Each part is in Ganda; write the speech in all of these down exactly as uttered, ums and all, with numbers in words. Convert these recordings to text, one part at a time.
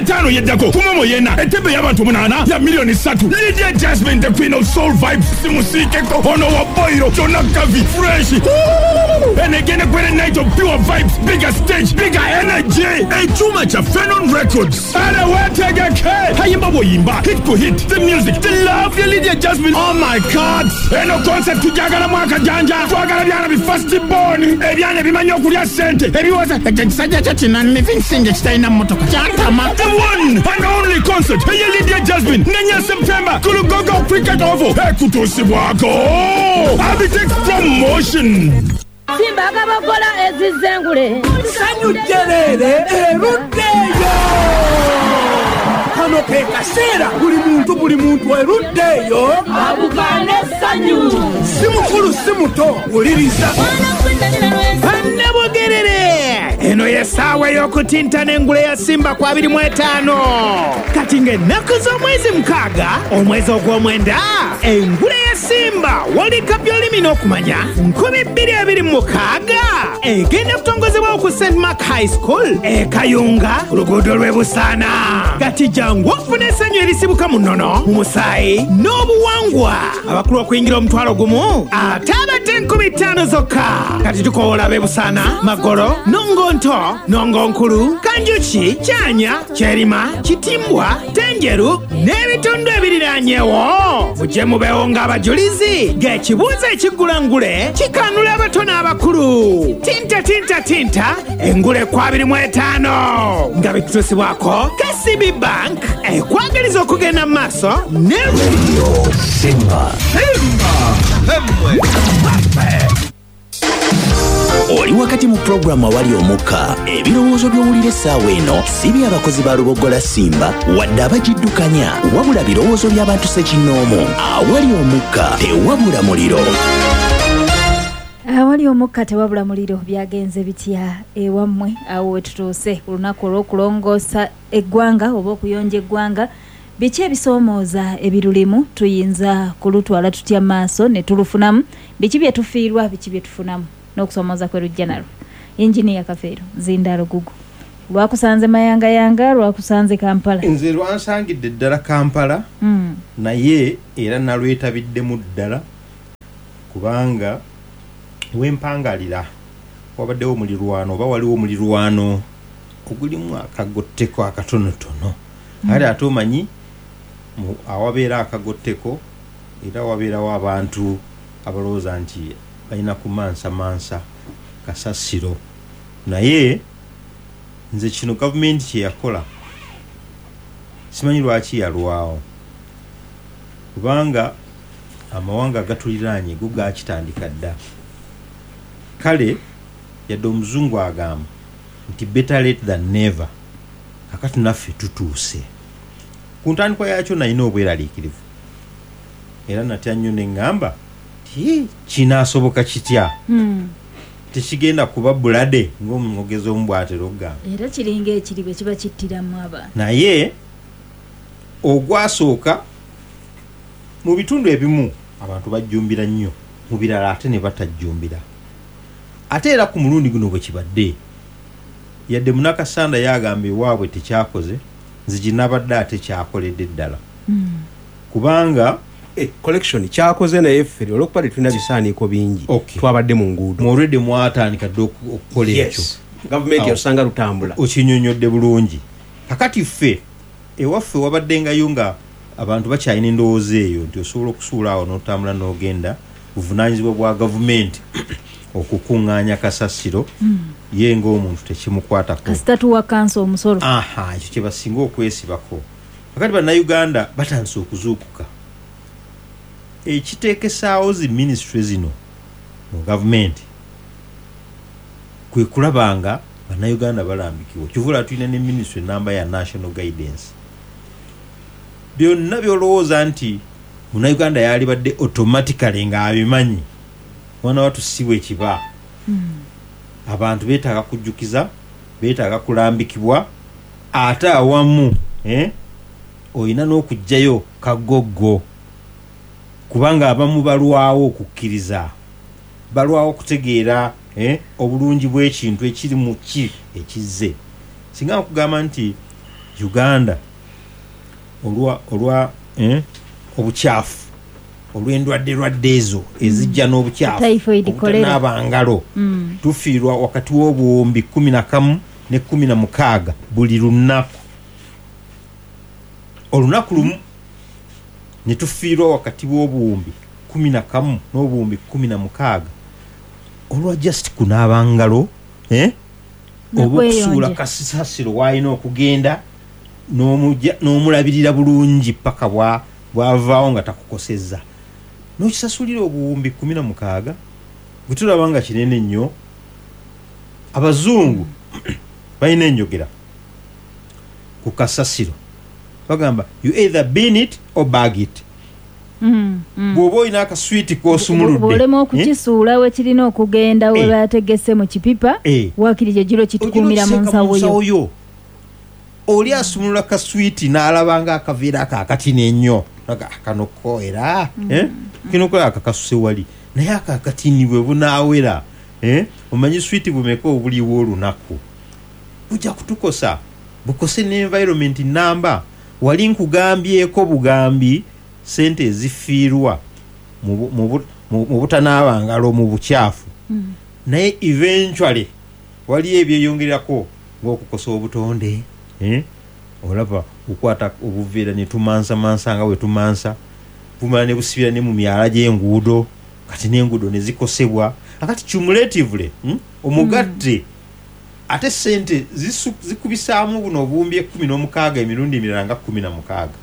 Etaano yeddako ku momo yena entebe y'abantu munaana ya miliyoni ssatu. Lydia Jasmine, the queen of soul vibes, simusiikeko ono wa boiro Jona Gavi fresh. And again a great night of pure vibes, bigger stage, bigger energy. Ekyuma kya Fenon Records ale wetegeke hayimba bwoyimba, hit ku hit, the music, the love ya Lydia Jasmine. Oh my God, eno concert tujagala mwaka janja, twagala byana bi first born, ebyana ebimanyi okulya ssente ebiwoza ekisajja kyo kinannivinsinga ekitalina mmotoka kyantama. The one and only concert eya Lydia Jasmine nenya September ku Lugogo Cricket Oval, ekutuusibwako Abitex Promotion. Simba akabakola ezizengule sanyu jerere eruddeyo. Kano ke kaseera buli muntu buli muntu eruddeyo abukane sanyu, si mukulu si muto, wuliriza. Bannabugerere, eno y'essaawa ey'okutintana engule ya Simba ku abiri mu etaano. Kati ng'ennaku z'omwezi mukaaga omwezi ogw'omwenda, engule ya Simba World Cup y'olulimi n'okumanya nkumi bbiri abiri mu mukaaga egenda kutongozebwawo ku Saint Mark High School e Kayunga ku luguudo lw'e Busaana. Kati jangu ofune essanyu erisibuka mu nnono, mu musaayi n'obuwangwa. Abakulu okuyingira omutwalo gumu ate abato enkumi ttaano zokka. Kati tukoola ab'e Busaana, Magolo, Nongonto, Nongonkulu, Kanjuki, Kyanya, Kyerima, Kitimbwa, Tenjeru n'ebitundu ebiriraanyewo. Mujje mubeewo ng'abajulizi ng'ekibuuzo ekiggulangule kikanula abato n'abakulu. Tinta tinta tinta engule ku abiri mu etaano nga bitutuusibwako K C B Bank ekwagaliza okugenda mu maaso ne Radio Simba. Simba. Oli wakati mu pulogulaamu awali omukka, ebirowoozo by'owulira essaawa eno si by'abakozi ba Lubogola Simba wadde abagiddukanya, wabula birowoozo by'abantu ssekinnoomu. Awali omukka tewabula muliro. Awali omukka tewabula muliro. Byagenze bitya ewammwe awo wetutuuse ku lunaku olw'okulongoosa eggwanga oba okuyonja eggwanga? Biki ebisoomooza ebirulimu? Tuyinza kulutwala tutya maaso ne tulufunamu? Biki bye tufiirwa, biki bye tufunamu n'okusoomooza kwe lujja nalwo? Engineer Kafeero Zindaalo Gugu, lwakusanze Mayangayanga, lwakusanze Kampala? Nze lwansangidde ddala Kampala, mm. naye era nalwetabiddemu ddala kubanga wempangalira wabaddewo omulirwano oba waliwo omulirwano ogulimu akagotteko akatonotono. Kale ate omanyi awabeera akagotteko era wabeerawo abantu abalowooza nti balina kumansamansa kasasiro. Naye nze kino gavumenti kye yakola simanyi lwaki yalwawo, kubanga amawanga agatuliraanye go gakitandika dda. Kale yadde omuzungu agamba nti better late than never, kakati naffe tutuuse. Ku ntandikwa yakyo nalina obweraliikirivu era natya nnyo ne ŋŋamba ti kinaasoboka kitya, mm. tekigenda kuba bulade ng'omwogezi omu bw'atera okugamba, era kiringa ekiri bwe kiba kittiramu abantu. Naye ogwasooka mu bitundu ebimu abantu bajjumbira nnyo, mu birala ate ne batajjumbira. Ate era ku mulundi guno bwe kibadde, yadde Munakasanda yagamba ewaabwe tekyakoze, nze ginabadde ate kyakoledde ddala. Mm. Kubanga eh, collection kyakoze naye ffe olw'okuba tetulina bisaaniiko bingi, okay. twabadde mu nguudo mwolwedde mwatandika dde okukola ekyo. Yes. Gavumenti yasanga lutambula okinyonnyodde bulungi. Kakati ffe ewaffe wabaddengayo nga abantu bakyalina endowooza eyo nti osobola okusuula awo n'otambula n'ogenda, buvunaanyizibwa bwa gavumenti okukuŋŋaanya kasasiro, mm. ye ng'omuntu tekimukwatako. Kasita tuwa kanso omusolo. Aha, ekyo kye basinga okwesibako. Kakati Bannayuganda batandise okuzuukuka. Ekiteekesaawo zi minisitule zino mu gavumenti kwe kulaba nga Bannayuganda balambikibwa. Kivula tulina ne minisitule namba ya National Guidance. Byonna by'olowooza nti Munnayuganda yalibadde automatically ng'abimanyi, mwana wattu si bwe kiba. Mm. Abantu beetaaga kujjukiza, beetaaga kulambikibwa, ate awamu eh, olina n'okuggyayo kagoggo, kubanga abamu balwawo okukkiriza, balwawo okutegeera eh, obulungi bw'ekintu ekiri mu ki ekizze. Singa nkugamba nti Uganda olwa olwa eh, obukyafu, olw'endwadde lwadde ezo ezijja n'obukyafu, Typhoid, cholera. obutanaaba ngalo, Mm. tufiirwa wakati w'obuwumbi kumi na kamu ne kumi na mukaaga buli lunaku. Olunaku lumu ne tufiirwa wakati w'obuwumbi kumi na kamu n'obuwumbi kumi na mukaaga olwa just kunaaba ngalo, eh? Oba okusuula N'okweyonja. kasasiro w'alina okugenda n'omujja- n'omulabirira bulungi paka bwa- bw'avaawo nga takukosezza, n'okisasulira obuwumbi kumi na mukaaga bwe tulaba nga kinene nnyo. Abazungu balina enjogera ku kasasiro, bagamba you either bin it or bag it. Mm, mm. Bw'oba olina akaswiti k'osumuludde, bw'olema eh? okukisuula we kirina okugenda, we Eh. bategese mu kipipa, Eh. waakiri gye giro kitukuumira mu Ogira nsawo okiteeka yo. yo. Oli asumulula kaswiti n'alaba nga akaveera ako akatini ennyo. Naga, "Ah, kano ko era eh? Kino ko akakasuse wali, naye ako akatini bwe bunaawera, eh? Omanyi switi bumeka obuliwo olunaku, bujja kutukosa, bukose ne environment namba. Wali nkugambyeko bugambi sente ezifiirwa mu bu- mu bu- mu mu butanaaba ngalo, mu bukyafu, naye eventually waliyo ebyeyongerako ng'okukosa obutonde, eh? Olaba okwata obuveera ne tumansamansa nga bwe tumansa, bumala ne busibira ne mu myala gy'enguudo, kati n'enguudo ne zikosebwa. Akati cumulatively, hmm? Omugatte ate sente zisu- zikubisaamu buno obuwumbi ekkumi n'omukaaga emirundi emirala nga kkumi na mukaaga,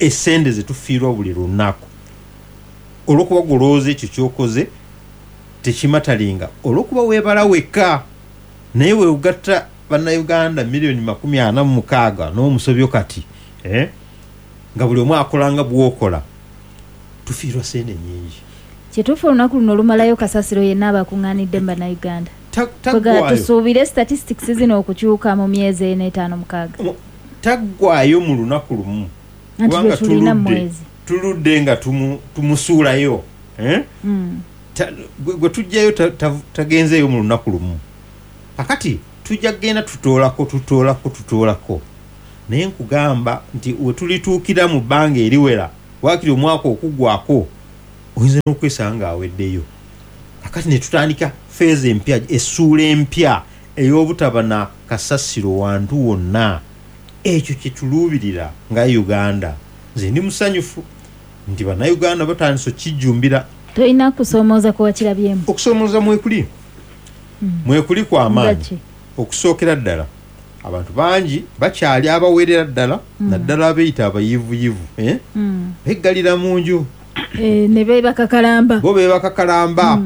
esente zetufiirwa buli lunaku olwokuba golowooza ekyo kyokoze tekimatalinga, olwokuba weebala wekka. Naye weogatta bannayuganda miliyoni makumi ana mu mukaaga n'omusobyo kati, eh? Nga buli omu akola nga bwokola, tufiirwa sente nyingi. Kituufu, olunaku luno olumalayo kasasiro yenna abakuŋŋaanidde mu bannayuganda. Ta- Kwega taggwayo tusuubire statistics zino okukyuka mu myezi ena, etaano, mukaaga. Mu- taggwayo mu lunaku lumu. Anti Kubanga lwe tulina mu tuludde- mwezi. Tuludde nga tumu- tumusuulayo, eh? Mm. Ta- gwe gwe tujjayo ta- ta- tagenzeeyo mu lunaku lumu. Kakati tujja kugenda tutoolako, tutoolako, tutoolako, naye nkugamba nti we tulituukira mu bbanga eriwera, waakiri omwaka okuggwako, oyinza n'okwesanga ng'aweddeyo. Kakati ne tutandika phase empya, essuula empya ey'obutaba na kasasiro wantu wonna. Ekyo kyetuluubirira nga Uganda. Nze ndi musanyufu nti bannayuganda batandise okijjumbira. Tolina kusoomooza kuwakirabyemu? Okusoomooza mwekuli, mwekuli kwamaanyi. Nga ki? Okusookera ddala, abantu bangi bakyali abawerera ddala, naddala abeeyita abayivuyivu, eh? Mm. Beggalira mu nju. Eh, ne beebaka kalamba. Bo beebaka kalamba,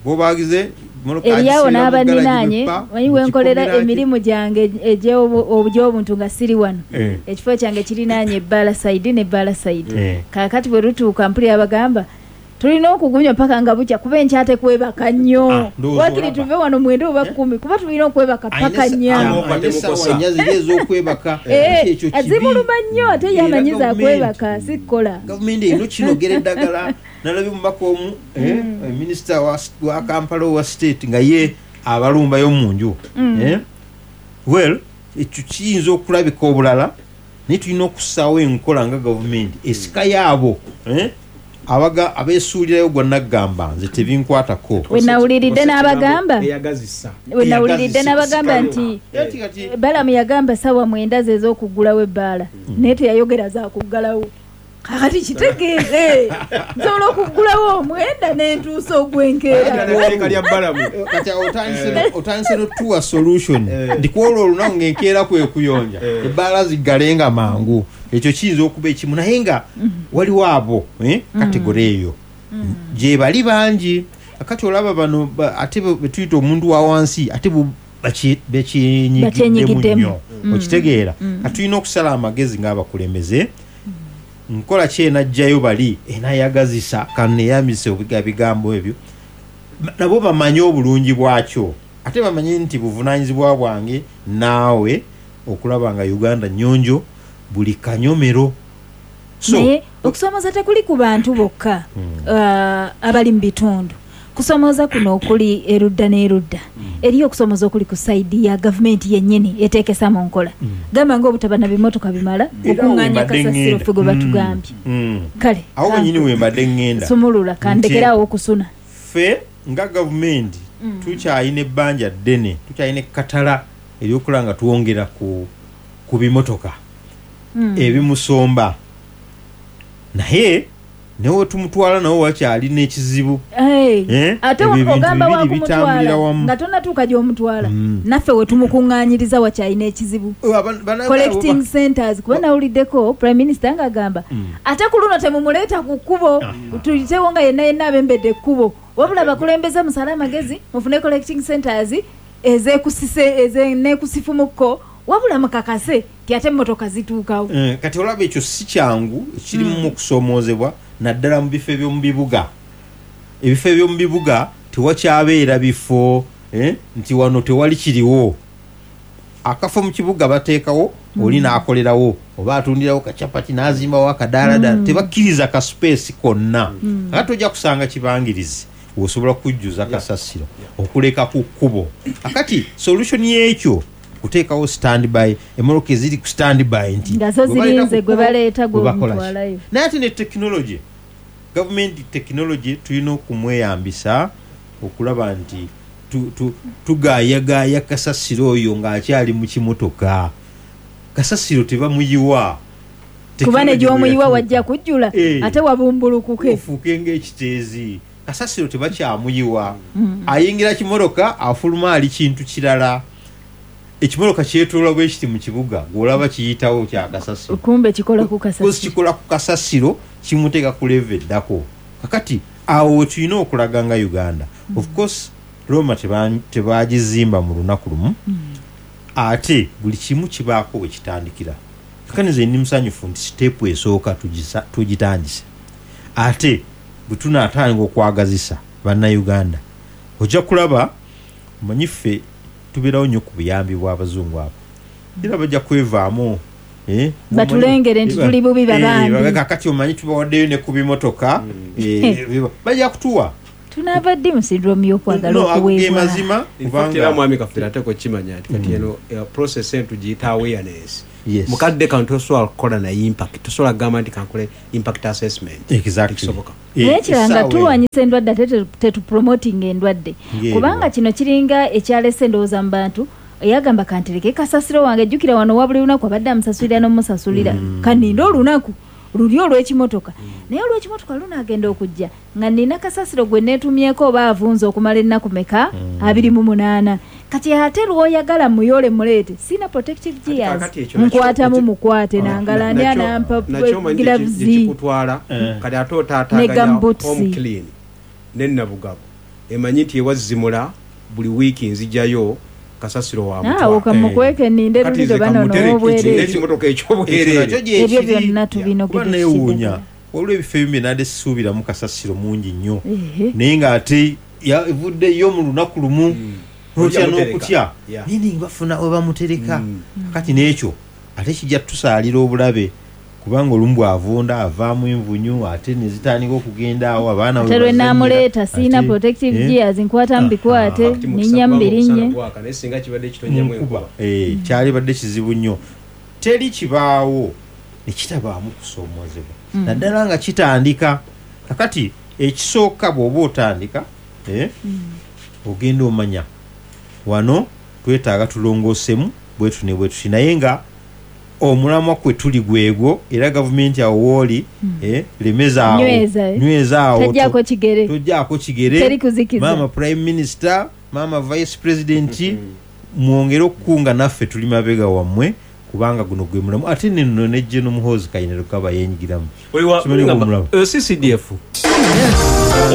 bo bagize mmotoka Eryawo agisibira mu n'abaninaanye ggaragi, manyi wenkolera mu kikomera. Emirimu gyange egy'obuntu nga siri wano, Eh. ekifo kyange kirinaanye ebbaala side nebbaala side. Eh. Kaakati bwe lutuuka mpulira bagamba tulina okugunywa paka nga bukya, kuba enkyate kwebaka nnyo. Ah, ndowooza Wakiri olaba. tuve wano mwenda oba kumi, kuba tulina okwebaka paka nnya. Alina essaawa nnya ziri ez'okwebaka. Eh, Ekyo kibi. Zimuluma nnyo, ate ye Era amanyiza gavumenti- akwebaka sikkola. Gavumenti erina okinogera eddagala. Nalabye omubaka omu, eh, minisita wa, wa Kampala owa state, nga ye abalumbayo mu nju, eh? Well, ekyo kiyinza okulabika obulala, naye tulina okussaawo enkola nga gavumenti esika yaabo, eh? Abaga abeesuulirayo gwa naggamba nze tebinkwatako. We nawuliridde n'abagamba Eyagazisa. We nawuliridde Eyagazisa. n'abagamba nti Ati kati Balamu yagamba sawa mwenda ze ez'okuggulawo ebbaala, naye teyayogera zakuggalawo. Kakati kitegeeze nsobola okuggulawo omwenda nentuusa ogwenkeera. Etteeka lya Balamu. Kati awo otandise no- otandise notuwa solution nti kwolwo olunaku ngaenkeera kwe kuyonja, ebbaala ziggalenga mangu. Ekyo kiyinza okuba ekimu, naye nga waliwo abo, eh, category eyo gye bali bangi. Akati olaba bano ba- ate be- betuyita omuntu wa wansi, ate bo bakye- bakyenyigiddemu Bakyenyigiddemu. nnyo, okitegeera? Kati tulina okusala amagezi ng'abakulembeze, nkola ki enajjayo bali enayagazisa, kaneyambise bigambo ebyo, nabo bamanye obulungi bwakyo, ate bamanye nti buvunanyizibwa bwange naawe okulaba nga Uganda nyonjo buli kanyomero. So Naye okusoomoza tekuli ku bantu bokka uh, abali mu bitundu. Kusomooza kuno okuli erudda n'erudda, eriyo okusomooza okuli ku side ya gavumenti yennyini eteekesa mu nkola, gamba ng'obutaba na bimotoka bimala Era awo okuŋŋaanya wembadde kasasiro ŋŋenda. ffe gwe batugambye. Mm. Kale awo wenyini wembadde ŋŋenda. Sumulula, kandekerawo okusuna. Ffe nga gavumenti tukyalina ebbanja ddene, tukyalina ekkatala eryokulaba nga twongera ku, ku bimotoka ebimusomba, naye newe tumutwala nawe wakyalina ekizibu. Hey, Eh? ate Ebyo ebintu ogamba bibiri bitambulira wakumutwala wamu. nga tonatuuka gy'omutwala, naffe we tumukuŋŋaanyiriza wakyalina ekizibu. Oh, aba- bana- Collecting centers, kuba nawuliddeko prime minister ng'agamba ate ku luno temumuleeta ku kkubo, tuyitewo nga yenna yenna abembedde ekkubo, wabula bakulembeze musale amagezi mufune collecting centers ezeekusise ezeneekusifumukko, wabula mukakase ti ate emmotoka zituukawo. Eh, kati olaba ekyo si kyangu, kirimu okusoomoozebwa naddala mu bifo eby'omu bibuga. Ebifo eby'omu bibuga tewakyabeera bifo, eh, nti wano tewali kiriwo. Akafo mu kibuga bateekawo oli n'akolerawo oba atundirawo kacapati n'azimbawo akadaaladala, tebakkiriza ka space konna. Ate tojja kusanga kibangirizi osobola kujjuza kasasiro okuleka ku kkubo. Akati solution y'ekyo kuteekawo standby, emmotoka eziri ku standby nti Nga zo gwe baleeta zirinze ku gwe kkubo, baleeta gwe bakola ki. gw'omutwalayo. Naye ate ne technology, gavumenti technology tulina okumweyambisa okulaba nti tu- tu- tugaayagaaya kasasiro oyo ng'akyali mu kimotoka. Kasasiro tebamuyiwa. Kuba ne Technology gy'omuyiwa bwe wajja yatuuka. kujjula Eh. ate wabumbulukuke. Ofuuke ng'ekiteezi. Kasasiro tebakyamuyiwa, ayingira kimotoka, afuluma ali kintu kirala. Ekimotoka kyetoola bwe kiti mu kibuga, gw'olaba kiyitawo kya kasasiro. Kumbe kikola ku Kozi kasasiro. Kikola ku kasasiro, kimuteeka ku level eddako. Kakati awo we tulina okulaga nga Uganda, of course Roma teba- tebagizimba mu lunaku lumu, ate buli kimu kibaako we kitandikira. Kakati nze ndi musanyufu nti step esooka tugisa- tugitandise, ate bwe tunaatandika okwagazisa bannayuganda ojja kulaba. Omanyi ffe tubeerawo nnyo ku buyambi bw'abazungu abo, era bajja kwevaamu, eh, Batulengere nti tuli bubi Eh, babambi. babe kakati omanyi tubawaddeyo ne ku bimotoka, eh, biba- bajja kutuwa. Tunaava ddi mu syndrome y'okwagala No, ago ge okuweebwa? mazima. In fact, era Kubanga mwami Kafeero ate okimanya nti kati eno eh, process eno tugiyita awareness. Yes. Mukadde kano tosobola kukola na impact, tosobola kugamba nti kankole impact assessment. Exactly. Tekisoboka. Eh, Naye kirala nga essaawa eno. tulwanyisa endwadde ate tetu- tetupromotinga endwadde. Ng'eriwa. Kubanga kino kiringa ekyalese endowooza mu bantu eyagamba kantereke kasasiro wange, jjukira wano wa buli lunaku abadde amusasulira n'omusasulira, kaninde olunaku luli olw'ekimotoka, naye olw'ekimotoka lunaagenda okujja nga nina kasasiro gwe neetumyeko oba avunze okumala ennaku meka? Abiri mu munaana. Kati ate lw'oyagala muyole muleete sina protective gears, Kakati ekyo nakyo- nkwatamu ekyo- mukwate nangala ndi Nakyo- anampa nakyo omanyi gye- gloves gye kikutwala. Eh. Kati ate Ne otaataaganya gumboots. Home Clean ne Nabugabo emanyi nti ewazimula buli wiiki nzijayo kasasiro wa awo mutwalo. kamukweke ninde Kati luli nze lwe banono kamutereke obwereere. n'ekimotoka Ekyo nakyo ekyobwereere. gye Ebyo kiri. byonna tubinogedde. Kuba neewuunya, waliwo ebifo ebimu bye nadde sisuubiramu kasasiro mungi nnyo, Ehe. naye ng'ate ya- evuddeyo mu lunaku lumu, notya Ojja mutereka. n'okutya. Yeah. Naye nga bafuna we bamutereka. Kati n'ekyo ate kijja tutusaalira obulabe, kubanga olumu bw'avunda avaamu envunyu ate ne zitandika okugenda awo abaana we Ate lwe bazannyira. naamuleeta siina Ate, protective eh, gears, nkwatamu bikwate Kati mukisa ninnya kubanga mubirinye. omusana gwaka, naye singa kibadde kitonnyamu nkuba enkuba. Eh, kyalibadde kizibu nnyo. Teri kibaawo nekitabaamu kusoomozebwa, naddala nga kitandika. Kakati ekisooka bw'oba otandika, eh, ogenda omanya wano twetaaga tulongoosemu bwetu ne bwetuti, naye nga omulamwa kwe tuli gwegwo. Era gavumenti awo wooli, eh, lemezaawo. Nyweza, eh. Nywezaawo. Tojjaako kigere. Tojjaako kigere. Teri kuzikiza. Maama prime minister, maama vice president, mwongere okukunga naffe, tuli mabega wammwe, kubanga guno gwe mulamu. Ate neno ne General Muhoozi Kainerugaba yenyigiramu. Simanyi ng'omulaba. C C D F.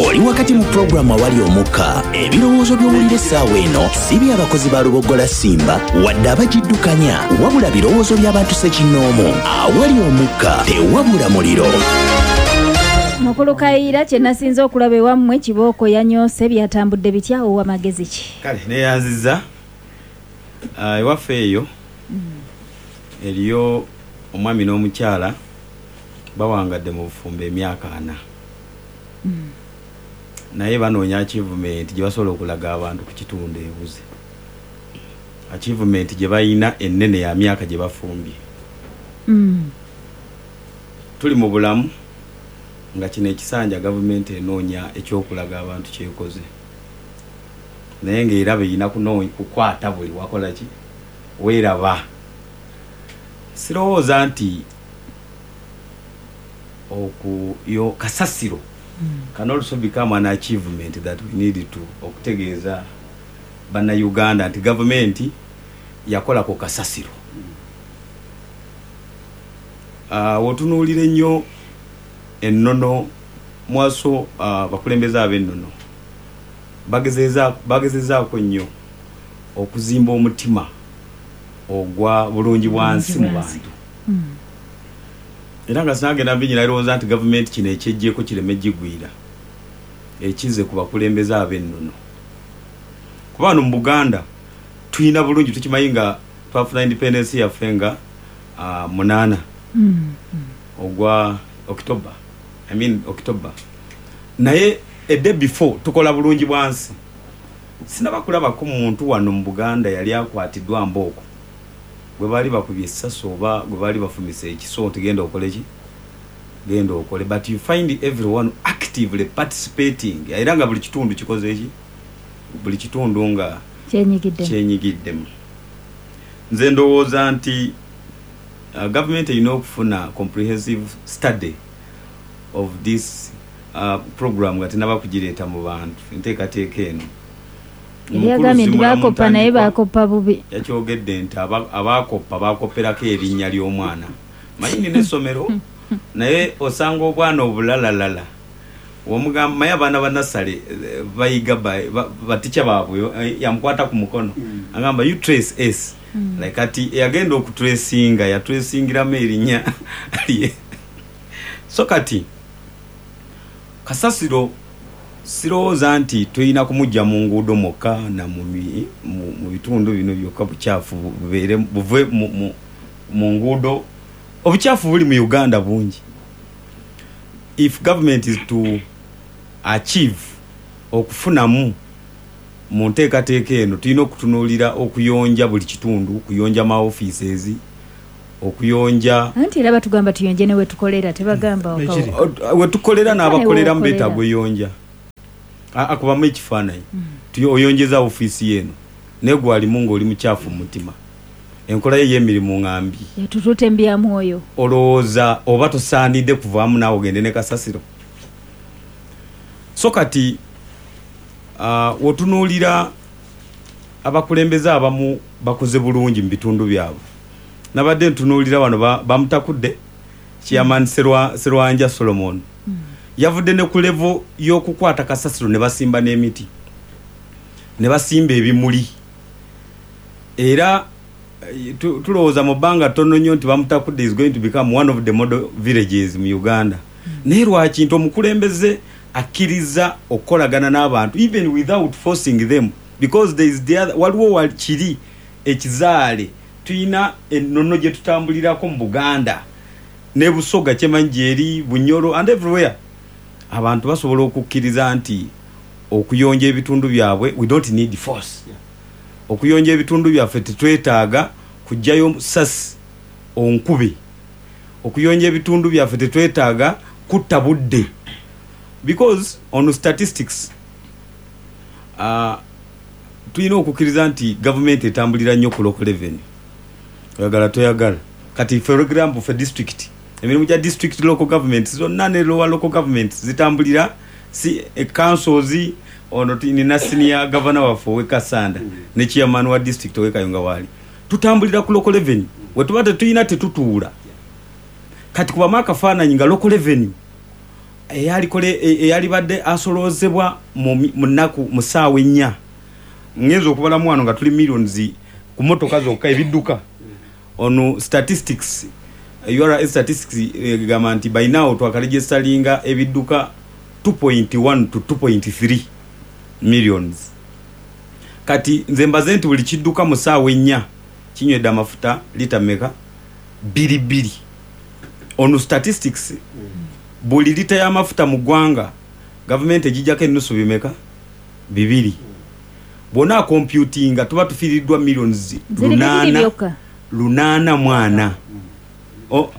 Oli wakati mu pulogulaamu Awali Omukka. Ebirowoozo by'owulira essaawa eno si by'abakozi ba Lubogola Simba wadde abagiddukanya, wabula birowoozo by'abantu ssekinnoomu. Awali omukka tewabula muliro. Mukulu Kayiira, kye nasinze okulaba ewammwe, kibooko yanyoose, byatambudde bitya? Owa magezi ki? Kale neyanziza. Ah, ewaffe eyo eriyo omwami n'omukyala bawangadde mu bufumbo emyaka ana. Naye banoonya achievement gye basobola okulaga abantu ku kitundu ebuze. Achievement gye balina ennene ya myaka gye bafumbye. Mm. Tuli mu bulamu nga kino ekisanja gavumenti enoonya ekyokulaga abantu kyekoze, naye ng'eraba erina kunoonya kukwata buli wakola ki weeraba. Sirowooza nti okuyo kasasiro can also become an achievement that we need to okutegeeza bannayuganda nti gavumenti yakola ku kasasiro. Uh, wotunuulira ennyo ennono mwaso, uh, bakulembeze ab'ennono bagezeza bagezezaako nnyo okuzimba omutima ogwa bulungi bwansi mu bantu. Mm. Era nga sinagenda bingi, nalowooza nti gavumenti kino ekyeggyeko kireme gigwira ekize ku bakulembeze ab'ennono, kuba wano mu Buganda tulina bulungi, tukimanyi nga twafuna independence yaffe nga uh, munaana Mm. ogwa October, I mean October, naye a day before tukola bulungi bwansi. Sinaba kulabako muntu wano mu Buganda yali akwatiddwa mbooko gwe baali bakubye essasi oba gwe baali bafumise ekiso nti genda okole ki, genda okole, but you find everyone actively participating, era nga buli kitundu kikoze ki, buli kitundu nga kyenyigiddemu. Kyenyigiddemu. Nze ndowooza nti uh, gavumenti erina okufuna comprehensive study of this uh, program nga tenaba kugireeta mu bantu, enteekateeka eno. Yali agambye nti Mukulu bakoppa, naye Zimula mu bakoppa bubi. Yakyogedde nti aba- abakoppa bakopperako erinnya ly'omwana. Manyi nina essomero, naye osanga obwana obulalalala omugamba, maye abaana ba nursery eh, bayiga ba- ba- batica baabwe, eh, yamukwata ku mukono agamba, "You trace S." Like kati eyagenda okutracinga yatracingiramu erinnya lye. So kati kasasiro sirowooza nti tulina kumujja mu nguudo mwokka na mu mi- mu mu bitundu bino byokka. Bukyafu bubeere buve mu- mu- mu nguudo. Obukyafu buli mu Uganda bungi. If government is to achieve okufunamu mu nteekateeka eno, tulina okutunuulira okuyonja buli kitundu, okuyonja ma offices, okuyonja. Anti era batugamba tuyonje ne wetukolera, tebagamba waka- Ekiri. Wetukolera n'abakoleramu Wewokolera. beetaaga oyonja. A- akubamu ekifaananyi. Tuyo- oyonjeza ofiisi eno, naye gwalimu ng'oli mukyafu mu mutima, enkola ye y'emirimu ngambi. Yatutute mbyamwoyo. Olowooza oba tosaanidde kuvaamu naawe ogende ne kasasiro? So kati uh, wotunuulira abakulembeze abamu bakoze bulungi mu bitundu byabwe. Nabadde ntunuulira wano ba- bamutakudde chairman Serwa- Serwanja Solomon, yavudde ne ku level y'okukwata kasasiro ne basimba n'emiti ne basimba ebimuli, era eh, tu- tulowooza mu bbanga ttono nnyo nti Bamutakudde is going to become one of the model villages mu Uganda. Naye lwaki nti omukulembeze akkiriza okukolagana n'abantu even without forcing them? Because there is the other, waliwo wa- kiri ekizaale, tulina ennono gye tutambulirako mu Buganda ne Busoga, kyemanyi gyeri Bunyoro and everywhere. Abantu basobola okukkiriza nti okuyonja ebitundu byabwe, we don't need force. Okuyonja ebitundu byaffe tetwetaaga kugjayo sasi onkube. Okuyonja ebitundu byaffe tetwetaaga kutta budde, because on statistics uh, tulina okukkiriza nti gavumenti etambulira nnyo ku local revenue, oyagala toyagala. Kati for example, fe district, emirimu gya district, local government zonna ne lower local government zitambulira si e councils. Ono ti- nina senior governor waffe ow'e Kasanda ne chairman wa district ow'e Kayunga, waali tutambulira ku local revenue. Wetuba tetulina tetutuula. Kati kubamu akafaananyi nga local revenue eyalikole eyalibadde asoloozebwa mu mi- mu nnaku mu ssaawa ennya, ngenza okubalamu wano nga tuli millions ku motoka zokka, ebidduka. Ono statistics, U R A statistics egamba nti by now twakaregisteringa ebidduka two point one to two point three millions. Kati nze mbaze nti buli kidduka mu ssaawa ennya kinywedde amafuta lita meka? Bbiri bbiri. Ono statistics, buli lita y'amafuta mu ggwanga Gavumenti egijjako ennusu bimeka? Bibiri. Bw'ona computinga tuba tufiiriddwa millions lunaana lunaana mwana. O,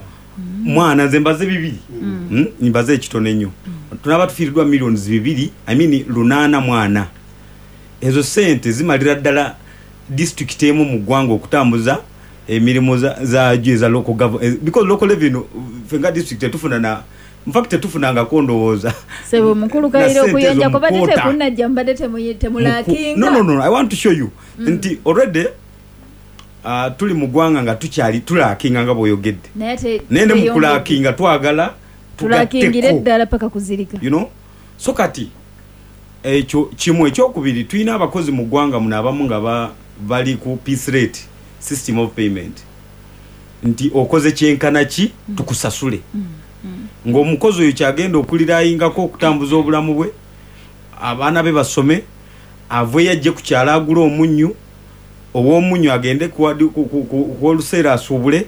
mwana nze mbaze bibiri. Mm. Mbaze ekitono ennyo. Tunaba tufiiriddwa millions bibiri, I mean lunaana mwana. Ezo sente zimalira ddala district emu mu ggwanga okutambuza emirimu za za local government, because local revenue fenga district tetufuna na in fact tetufunangako ndowooza. Sebo mukulu Kayira okuyonja kubadde tekunnajja mbadde temulakinga. No no no I want to show you mm. nti already uh, tuli mu ggwanga nga tukyali tulakinga nga bw'oyogedde. Naye ne mu kulakinga twagala tulakingire ddala paka kuzirika. You know? So kati ekyo kimu. Ekyokubiri, tulina abakozi mu ggwanga muno abamu nga bali ku piece rate system of payment, nti okoze kyenkana ki tukusasule. mm. Mm. Ng'omukozi oyo kyagenda okulirayingako okutambuza obulamu bwe, abaana be basome, aveeyo ajje ku kyalo agule omunnyu, ow'omunnyu agende kuwoluseera asuubule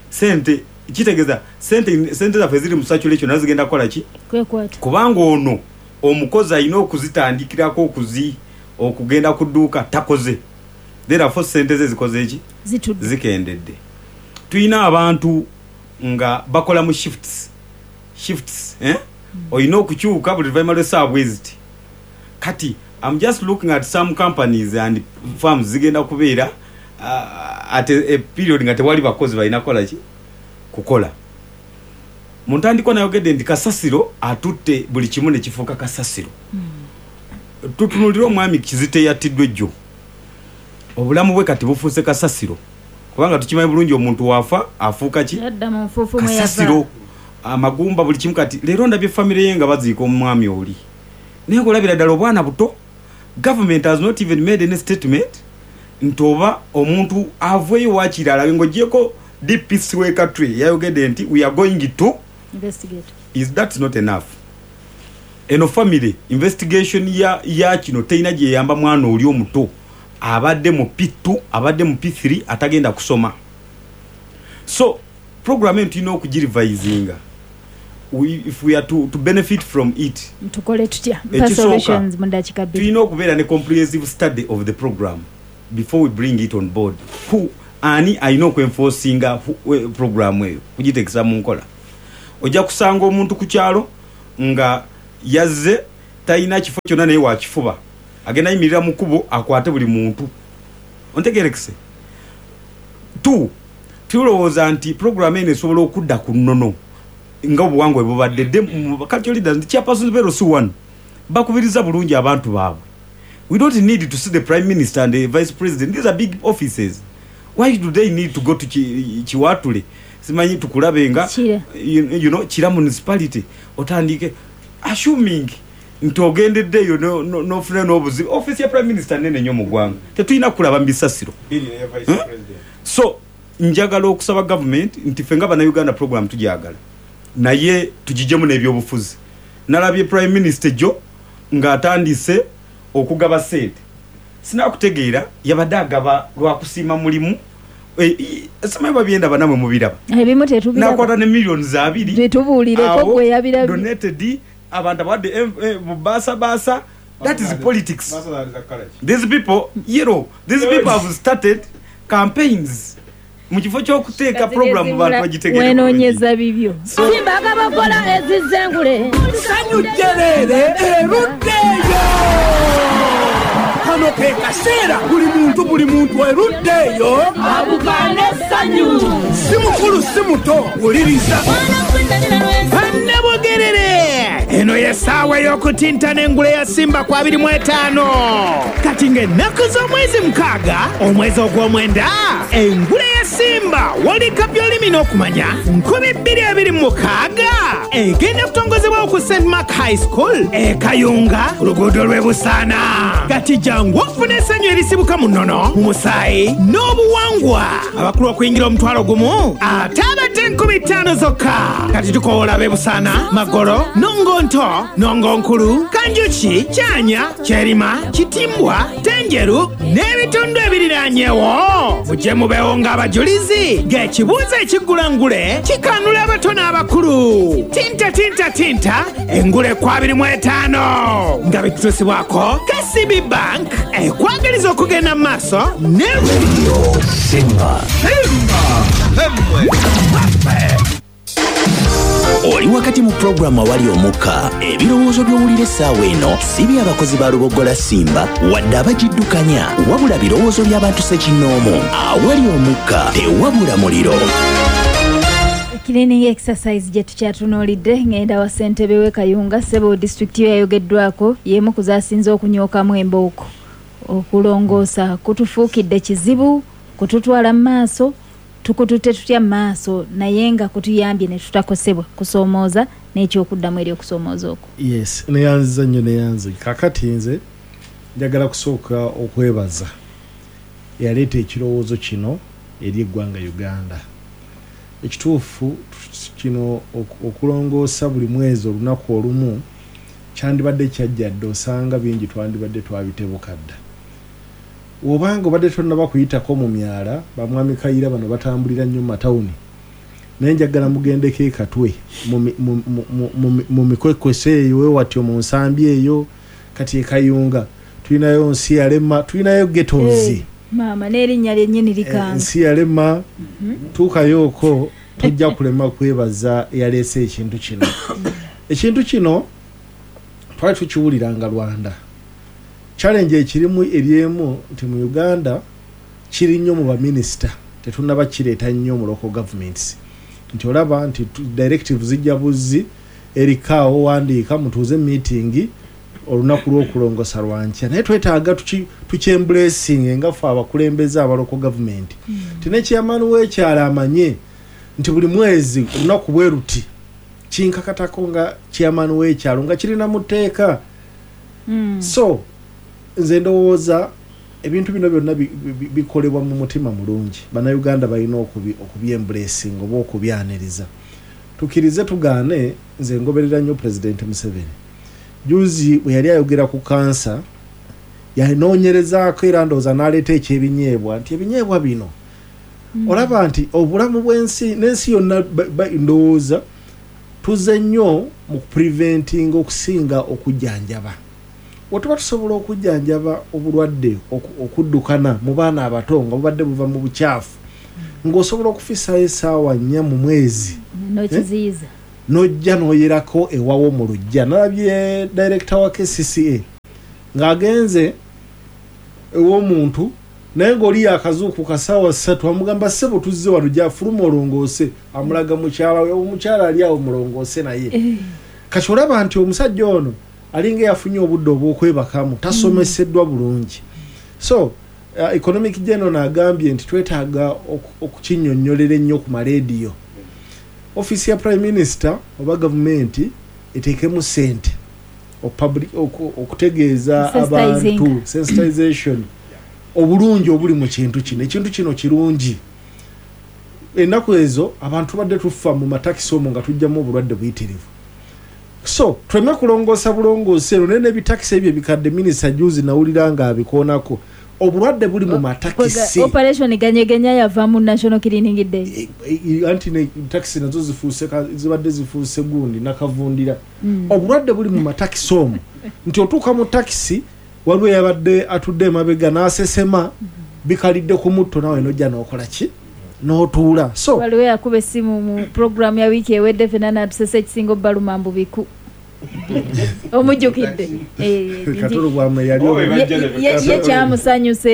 sente. Kitegeeza sente sente zaffe ziri mu circulation nazo zigenda kukola ki? Kubanga ono omukozi alina okuzitandikirako okuzi okugenda ku dduuka takoze, therefore sente ze zikoze ki? Zikendedde. Tulina abantu nga bakola mu shifts shifts eh? Mm. Olina okukyuka buli luvannyuma lw'essaawa bwe ziti. Kati I'm just looking at some companies and firms zigenda kubeera uh, at a, a period nga tewali bakozi balina kukola ki? Kukola. Mu ntandikwa nayogedde nti kasasiro atutte buli kimu ne kifuuka kasasiro. Mm. Tutunuulire omwami Kizito eyattiddwa ejjo, obulamu bwe kati bufuuse kasasiro, kubanga tukimanyi bulungi omuntu waafa afuuka ki? Kasasiro, amagumba, buli kimu. Kati leero ndabye famire ye nga baziika omwami oli, naye ng'olabira ddala obwana buto. Government has not even made any statement nti oba omuntu aveeyo waakiri ng'oggyeko D P C w'e Katwe yayogedde nti we are going to investigate. Is that not enough? Eno family investigation ya ya kino terina gyeyamba mwana oli omuto abadde mu P two, abadde mu P three, atagenda kusoma. So program eno tulina okugirevisinga if we are to, to benefit from it. Tukole tutya? Solutions mu dakiika bbiri. Tulina okubeera ne comprehensive study of the program before we bring it on board. Who ani alina okwenforcinga program eyo kugitekesa mu nkola? Ojja kusanga omuntu ku kyalo nga yazze talina kifo kyonna naye wakifuba, agenda yimirira mu kkubo akwate buli muntu. Ontegerekese? Two, tulowooza nti program eno esobola okudda ku nnono nga obuwangwa bwe bubadde. Cultural leaders nti chairpersons be L C one bakubiriza bulungi abantu baabwe. We don't need to see the prime minister and the vice president. These are big offices. Why do they need to go to Kiwatule? Simanyi tukulabe nga you, you know, Kira municipality otandike assuming nti ogendeddeyo n'ofuna n'obuzibu. Office ya prime minister nene nnyo mu ggwanga, tetulina kulaba mu bisasiro. hmm? So njagala okusaba government nti ffe nga bannayuganda program tugyagala, naye tugijjemu n'ebyobufuzi. Nalabye prime minister jjo ng'atandise okugaba ssente, sinakutegeera yabadde agaba lwakusiima mulimu. Simanyi babyenda banamwe mubiraba, ebimu tetubiraba. Nakwata ne millions abiri tetubuulireko gwe yabirabye donated abantu abadde basa basa. That is politics. These people, you know, these people have started campaigns mu kifo ky'okuteeka program bantu bagitegere. Wenoonyeza bibyo. Simba akabakola ezizengule Sanyu jjerere eruddeyo. Kano ke kaseera buli muntu buli muntu eruddeyo abukane essanyu. Si mukulu si muto, wuliriza. Bannabugerere, eno y'essaawa ey'okutintana engule ya Simba ku abiri mu etaano. Kati ng'ennaku z'omwezi mukaaga omwezi ogw'omwenda, engule ya Simba World Cup y'olulimi n'okumanya nkumi bbiri abiri mu mukaaga egenda kutongozebwawo ku Saint Mark High School e Kayunga ku luguudo lw'e Busaana. Kati jangu ofune essanyu erisibuka mu nnono, mu musaayi n'obuwangwa. Abakulu okuyingira omutwalo gumu ate abadde enkumi ttaano zokka. Kati tukoola ab'e Busaana, Magolo, Nongonto, Nongonkulu, Kanjuki, Kyanya, Kyerima, Kitimbwa, Tenjeru, N'ebitundu ebiriranyewo mujje mubeewo ng'abajulizi ng'ekibuuzo ekiggula ngule kikanula abato n'abakulu. Tinta tinta tinta engule ku abiri mu etaano nga bitutusibwako K C B Bank ekwagaliza okugenda mu maaso ne Radio Simba. Oli wakati mu programu awali omukka, ebirowoozo by'owulira essaawa eno si by'abakozi ba Lubogola Simba wadde abagiddukanya, wabula birowoozo by'abantu ssekinnoomu. Awali omukka tewabula muliro. Cleaning exercise gye tukyatunuulidde ngenda wa ssentebe w'e Kayunga ssebo disitulikiti yo yayogeddwako y'emu ku zaasinze okunyookamu embooko. Okulongoosa kutufuukidde kizibu, kututwala mu maaso, tukututte tutya mu maaso naye nga kutuyambye ne tutakosebwa kusoomooza n'ekyokuddamu eri okusoomooza okwo. Yes, neyanziza nnyo neyanze. Kaakati nze njagala kusooka okwebaza eyaleeta ekirowoozo kino eri eggwanga Uganda. Ekituufu kino okulongoosa buli mwezi olunaku olumu kyandibadde kyajja dda, osanga bingi twandibadde twabitebuka dda. Obanga obadde tonnaba kuyitako mu myala, bamwami Kayira bano batambulira nnyo mu matawuni, naye njagala mugendeko e Katwe mu mikwekwese eyo wewatyo mu nsambi eyo kati e Kayunga tulinayo nsi yalema, tulinayo ghettos. Hey, maama n'erinnya lyennyini likanga nsi yalema. Tuukayooko tojja kulema kwebaza eyaleese ekintu kino. Ekintu kino twali tukiwuliranga Rwanda. Challenge ekirimu eryemu nti mu Uganda kiri nnyo mu baminisita, tetunnaba kireeta nnyo mu local governments. Nti olaba nti directives zijja buzzi erikaawo wandiika mutuuze meeting olunaku lw'okulongosa lwankya, naye twetaaga tukyembracinge nga ffe abakulembeze aba local government. Nti ne chairman w'ekyalo amanye nti buli mwezi olunaku bwe luti kinkakatako nga chairman w'ekyalo nga kirina mu tteeka. So nze ndowooza ebintu bino byonna bikolebwa mu mutima mulungi. Bannayuganda balina okubyembracinga oba okubyaniriza. Tukkirize tugaane, nze ngoberera nnyo Pulezidenti Museveni. Juzi bwe yali ayogera ku kansa yanoonyerezaako era ndowooza n'aleeta eky'ebinyeebwa nti ebinyeebwa bino olaba nti obulamu bw'ensi n'ensi yonna ndowooza tuzze nnyo mu kupreventinga okusinga okujjanjaba. Wetuba tusobola okujjanjaba obulwadde okuddukana mu baana abato nga bubadde buva mu bukyafu, ng'osobola okufisaayo essaawa nnya mu mwezi n'okiziyiza n'ojja n'oyerako ewawo mu luggya. Nalabye director wa K C C A ng'agenze ew'omuntu naye ng'oli yakazuukuka ssaawa ssatu amugamba ssebo tuzze wano gyafuluma olongoose, amulaga mukyala we, omukyala ali awo mulongoose naye. Kati olaba nti omusajja ono alinga yafunye obudde obw'okwebakamu, tasomeseddwa bulungi. So uh, economic general agambye nti twetaaga okukinnyonnyolera ennyo ku maleediyo. Ofiisi ya Prime Minister oba gavumenti eteekemu ssente okutegeeza abantu sensitization obulungi obuli mu kintu kino. Ekintu kino kirungi. Ennaku ezo abantu badde tufa mu matakisi omwo nga tujjamu obulwadde buyitirivu. So tuleme kulongoosa bulongoosi ero naye n'ebitakisi ebyo ebikadde minisita juzi nawulira nga abikoonako. Obulwadde buli mu matakisi. Operation ganyegenya yava mu National Cleaning Day. Anti ne takisi nazo zifuuse zibadde zifuuse gundi nakavundira. Obulwadde buli mu matakisi omwo nti otuuka mu takisi waliwo yabadde atudde emabega n'asesema bikalidde ku mutto nawe n'ojja n'okola ki n'otuula. So waliwo yakuba essimu mu programu ya wiiki ewedde ffenna n'atusesa ekisinga obbaluma mbu biku. Omujjukidde Katolo bwamwe yali ye kyamusanyusa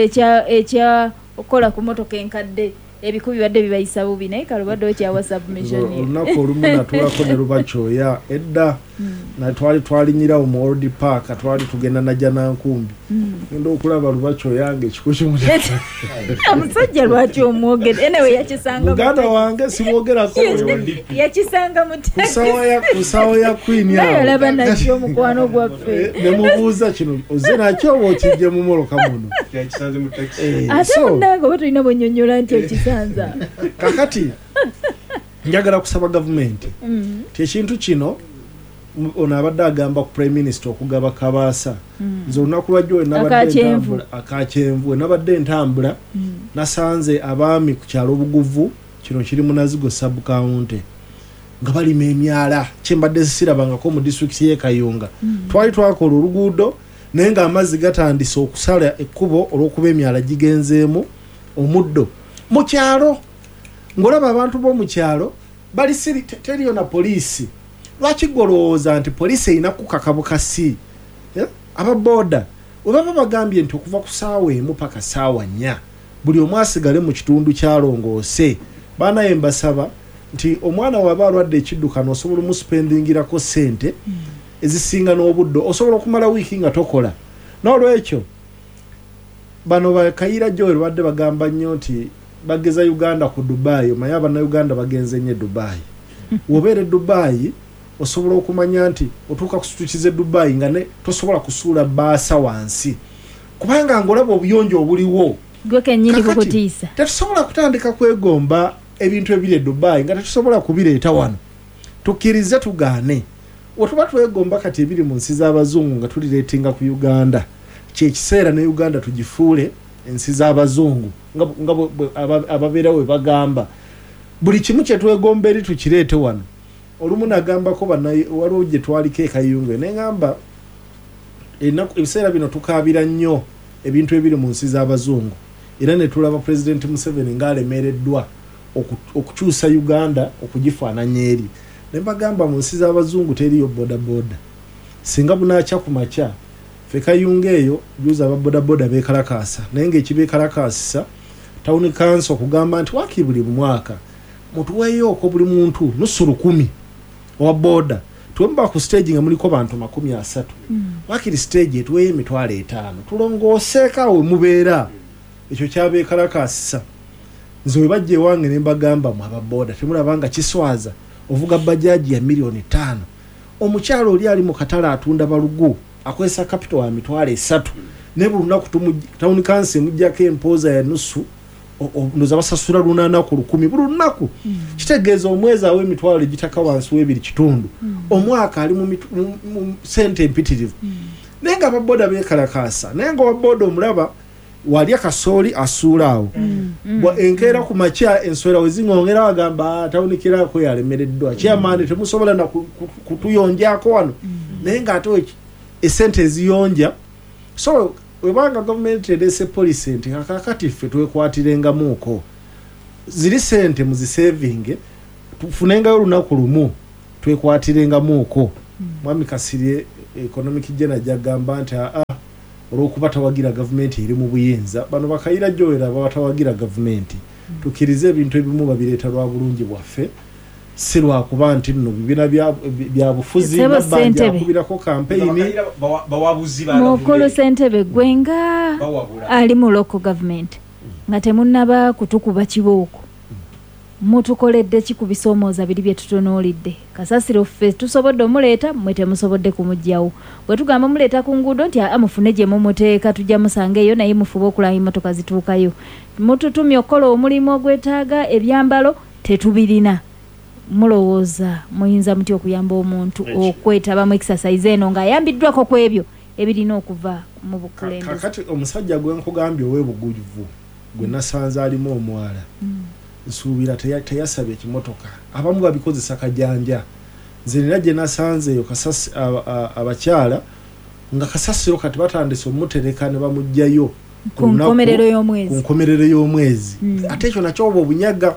ekya okukola ku mmotoka enkadde ebiku bibadde bibayisa bubi naye kale obadde okyawa submission. Olunaku olumu natuulako ne Lubakyoya edda na twali twalinyirawo mu Old Park twali tugenda najja Nankumbi ngenda okulaba Lubakyoya nga ekiku kimu. Omusajja lwaki omwogera? Anyway yakisanga muganda wange simwogerako yakisanga mu ku ssaawa ya Queen awo naye olaba nakyo omukwano gwaffe ne mubuuza kino ozze nakyo oba okijje mu mmotoka muno yakisanze mu taxi. Ate munnange oba tulina bwennyonnyola nti okisanza. Kakati njagala kusaba gavumenti ti ekintu kino Ono abadde agamba ku Prime Minister okugaba kabaasa. Mm. Nze olunaku lwajjo we nabadde Akakyenvu. ntambula, akakyenvu, we nabadde ntambula, Mm. nasanze abaami ku kyalo Buguvu, kino kiri mu Nazigo sub county, nga balima emyala kyembadde sirabangako mu disitulikiti y'e Kayunga. Mm. Twali twakola oluguudo naye ng'amazzi gatandise okusala ekkubo olw'okuba emyala gigenzeemu omuddo mu kyalo. Ng'olaba abantu b'omu kyalo bali siri, te-, teriyo na poliisi. Lwaki ggwe olowooza nti poliisi erina kukaka bukasi? Eh? Ababooda we baba bagambye nti okuva ku ssaawa emu paka ssaawa nnya buli omu asigale mu kitundu kyalongoose. Baanaye mbasaba nti omwana waba alwadde ekiddukano osobola omuspendingirako ssente ezisinga n'obudde, osobola okumala wiiki nga tokola. N'olwekyo bano Bakayira Joel badde bagamba nnyo nti bageza Uganda ku Dubai. Omanyi Abannayuganda bagenze nnyo e Dubai. W'obeera e Dubai osobola okumanya nti otuuka ku street z'e Dubai nga ne tosobola kusuula bbaasa wansi, kubanga ng'olaba obuyonjo obuliwo. Gwe kennyini Kakati, kukutiisa. tetusobola kutandika kwegomba ebintu ebiri e Dubai nga tetusobola kubireeta wano. Tukkirize tugaane. Wetuba twegomba kati ebiri mu nsi z'abazungu nga tulireetinga ku Uganda, kyekiseera ne Uganda tugifuule ensi z'abazungu nga bu-, nga bu-, bu-, aba-, ababeerawo bwe bagamba. Buli kimu kye twegomba eri tukireete wano. Olumu nagambako banna-, waliwo gye twaliko e Kayunga, ne ŋŋamba ennaku, ebiseera bino tukaabira nnyo ebintu ebiri mu nsi z'abazungu, era ne tulaba Pulezidenti Museveni ng'alemereddwa oku-, okukyusa Uganda okugifaananya eri. Ne mbagamba mu nsi z'abazungu teriyo bodaboda. Singa bunaakya ku makya, ffe Kayunga eyo juzi aba bodaboda beekalakaasa, naye ng'ekibeekalakaasisa town council okugamba nti waakiri buli mwaka mutuweeyooko buli muntu nusu lukumi owa boda. Tuwe ku stage nga muliko bantu makumi asatu. Mm. Waakiri stage etuweeyo emitwalo etaano, tulongooseeko awo we mubeera. Ekyo kyabeekalakaasisa. Nze we bajja ewange ne mbagamba mwe aba boda temulaba nga kiswaza ovuga bajaji ya miliyoni ttaano, omukyalo oli ali mu katale atunda balugu akozesa capital wa mitwalo esatu, naye buli lunaku tumu-, town council emuggyako empooza ya nusu, o-, o-, ndowooza basasula lunaana ku lukumi buli lunaku. Mm. Kitegeeza omwezi awo emitwalo egitaka wansi w'ebiri kitundu. Mm. Omwaka ali mu mitu-, mu, mu ssente empitirivu. Mm. Naye nga ababoda beekalakaasa, naye nga owaboda omulaba walya kasooli asuula awo. Mm. Mm. Bwa enkeera ku makya ensowera we ziŋŋongera bagamba, ah, tawunikirako yalemereddwa. Chairman, temusobola na ku-, ku-, kutuyonjaako wano. Mm. Naye ng'ate we-, essente eziyonja. So webanga gavumenti ereese policy nti kaakati ffe twekwatirengamuuko, ziri ssente muzisevinge, tufunengayo olunaku lumu twekwatirengamuuko. Mm. Mwami Kasirye economic general gy'agamba nti aa, olw'okuba tawagira gavumenti eri mu buyinza, bano Bakayira Joel aba batawagira gavumenti. Mm. Tukkirize ebintu ebimu babireeta lwa bulungi bwaffe, si lwakuba nti nno bibiina bya, bya bufuzi, Ssebo Nabbanja Ssentebe. akubirako kampeyini. Bakayira bawa-, bawabuzi ba Mukulu gavumenti. Ssentebe, gwe nga Bawabula. ali mu local government nga temunnaba kutukuba kibooko, mutukoledde ki ku bisoomooza biri bye tutunuulidde? Kasasiro ffe tusobodde omuleeta, mmwe temusobodde kumuggyawo. Bwe tugamba muleeta ku nguudo nti aa, mufune gye mumuteeka, tujja musanga eyo, naye mufube okulaba emmotoka zituukayo. Mututumye okukola omulimu ogwetaaga ebyambalo, tetubirina. Mulowooza muyinza mutya okuyamba omuntu Ekyo. okwetaba mu exercise eno ng'ayambiddwako ku ebyo ebirina okuva mu bukulembeze? Kakati omusajja gwe nkugambye ow'ebuguvu gwe nasanze alimu omwala, Mm. nsuubira teya-, teyasabye ekimotoka. Abamu babikozesa kajanja. Nze nina gye nasanze eyo kasasi-, a-, a-, abakyala nga kasasiro kati batandise omutereka ne bamuggyayo Ku nkomerero y'omwezi. Ku nkomerero y'omwezi. Mm. Ate ekyo nakyo oba obunyaga.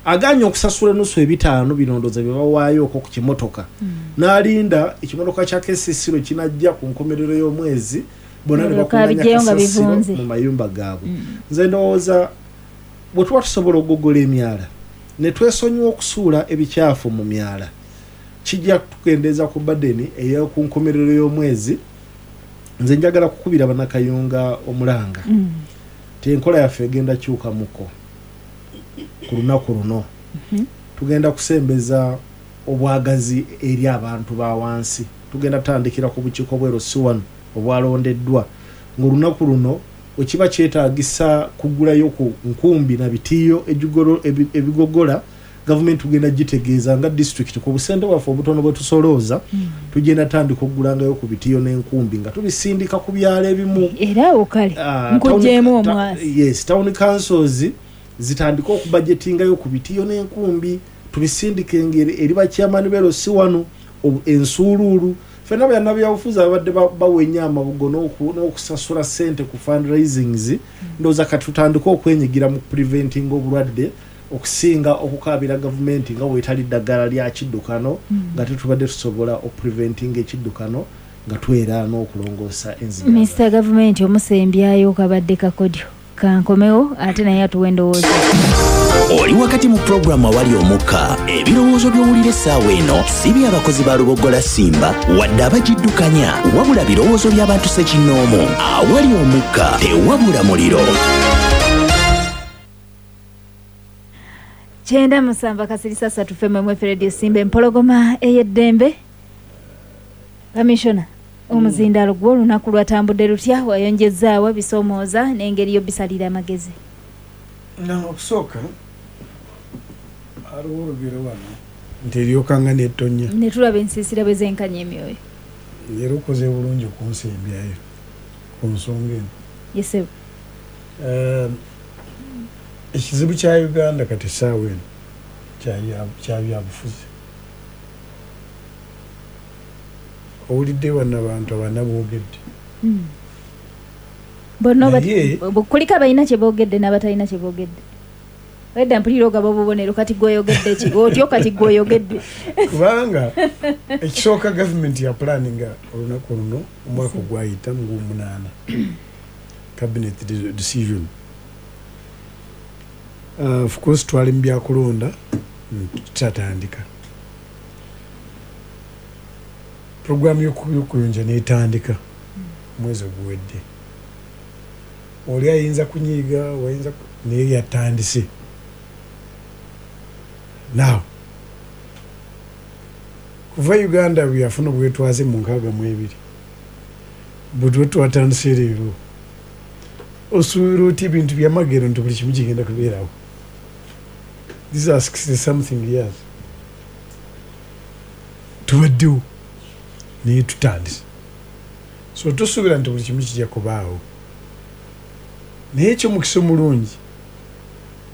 Agaanye okusasula ennusu ebitaano bino ndowooza bye bawaayoko ku kimotoka. Mm. N'alinda ekimotoka kya K C C lwe kinajja ku nkomerero y'omwezi, bonna ne Balyoka bakuŋŋaanya biggyeyo nga kasasiro bivunze. mu mayumba gaabwe. Mm. Nze ndowooza bwe tuba tusobola okugogola emyala ne twesonyiwa okusuula ebikyafu mu myala, kijja kutukendeeza ku badeni ey'oku nkomerero y'omwezi. Nze njagala kukubira Bannakayunga omulanga. Mm. Nti enkola yaffe egenda kyukamuko ku lunaku luno. Mm-hmm. Tugenda kusembeza obwagazi eri abantu ba wansi. Tugenda kutandikira ku bukiiko bw'L C one obwalondeddwa. Ng'olunaku luno wekiba kyetaagisa kugulayo ku nkumbi na bitiiyo ejigolo-, ebi-, ebigogola, Gavumenti tugenda gitegeeza nga disitulikiti ku busente bwaffe obutono bwe tusolooza, Mm. tugenda tandika okugulangayo ku bitiyo n'enkumbi nga tubisindika ku byalo ebimu. Era awo kale Ah, nkugyemu town- ta- omwasi. Yes, town councils zitandika okubajetingayo ku bitiyo n'enkumbi, tubisindike engeri eri bachairman bero si wano obu- ensuuluulu. Ffenna bannabyabufuzi ababadde ba- bawenya amabugo n'oku- n'okusasula ssente ku fundraisings, ndowooza kati tutandike okwenyigira mu preventing obulwadde okusinga okukaabira gavumenti nga bwetali ddagala lya kiddukano, nga tetubadde tusobola okupreventinga ekiddukano nga twera n'okulongoosa enzigaba. Minisita gavumenti omusembyayo kabadde kakodyo kankomewo ate naye atuwa endowooza. Oli wakati mu pulogulaamu Awali Omukka. Ebirowoozo by'owulira essaawa eno si by'abakozi ba Luboggola Simba wadde abagiddukanya, wabula birowoozo by'abantu ssekinnoomu. Awali Omukka tewabula muliro. Kyenda musanvu akasirisa ssatu F M F Radio Simba, empologoma ey'eddembe. Kamishona, omuzindaalo gwo olunaku lwatambudde lutya? Wayonjezaawa bisoomooza n'engeri y'obisalira amagezi? Na okusooka aliwo olugero wano nti eryokanga n'ettonya. Ne tulaba ensiisira bwe zenkanya emyoyo. Era okoze bulungi okunsembyayo ku nsonga eno. Yesebo. Um, ekizibu kya Uganda kati essaawa eno kya- kya byabufuzi. Owulidde wano abantu abana boogedde. Mm. Bonna oba- Naye- bu- kuliko abalina kye boogedde n'abatalina kye boogedde. Wedda mpulira ogaba obubonero, kati gw'oyogedde ki? Otyo kati gw'oyogedde. Kubanga ekisooka gavumenti ya pulaninga olunaku luno omwaka ogwayita mu gw'omunaana, cabinet de- decision. Uh, of course twali mu byakulonda, mm, tutatandika puroguramu y'okuyonja n'etandika omwezi oguwedde. Oli ayinza kunyiiga, wayinza ku- naye yatandise. Now kuva Uganda bwe yafuna obwetwaze mu nkaaga mu ebiri, bwe tuba twatandise leero, osuubira otya ebintu byamagero nti buli kimu kigenda kubeerawo? These are sixty something years tubaddewo, naye tutandise. So tosuubira nti buli kimu kijja kubaawo, naye ekyomukisa omulungi,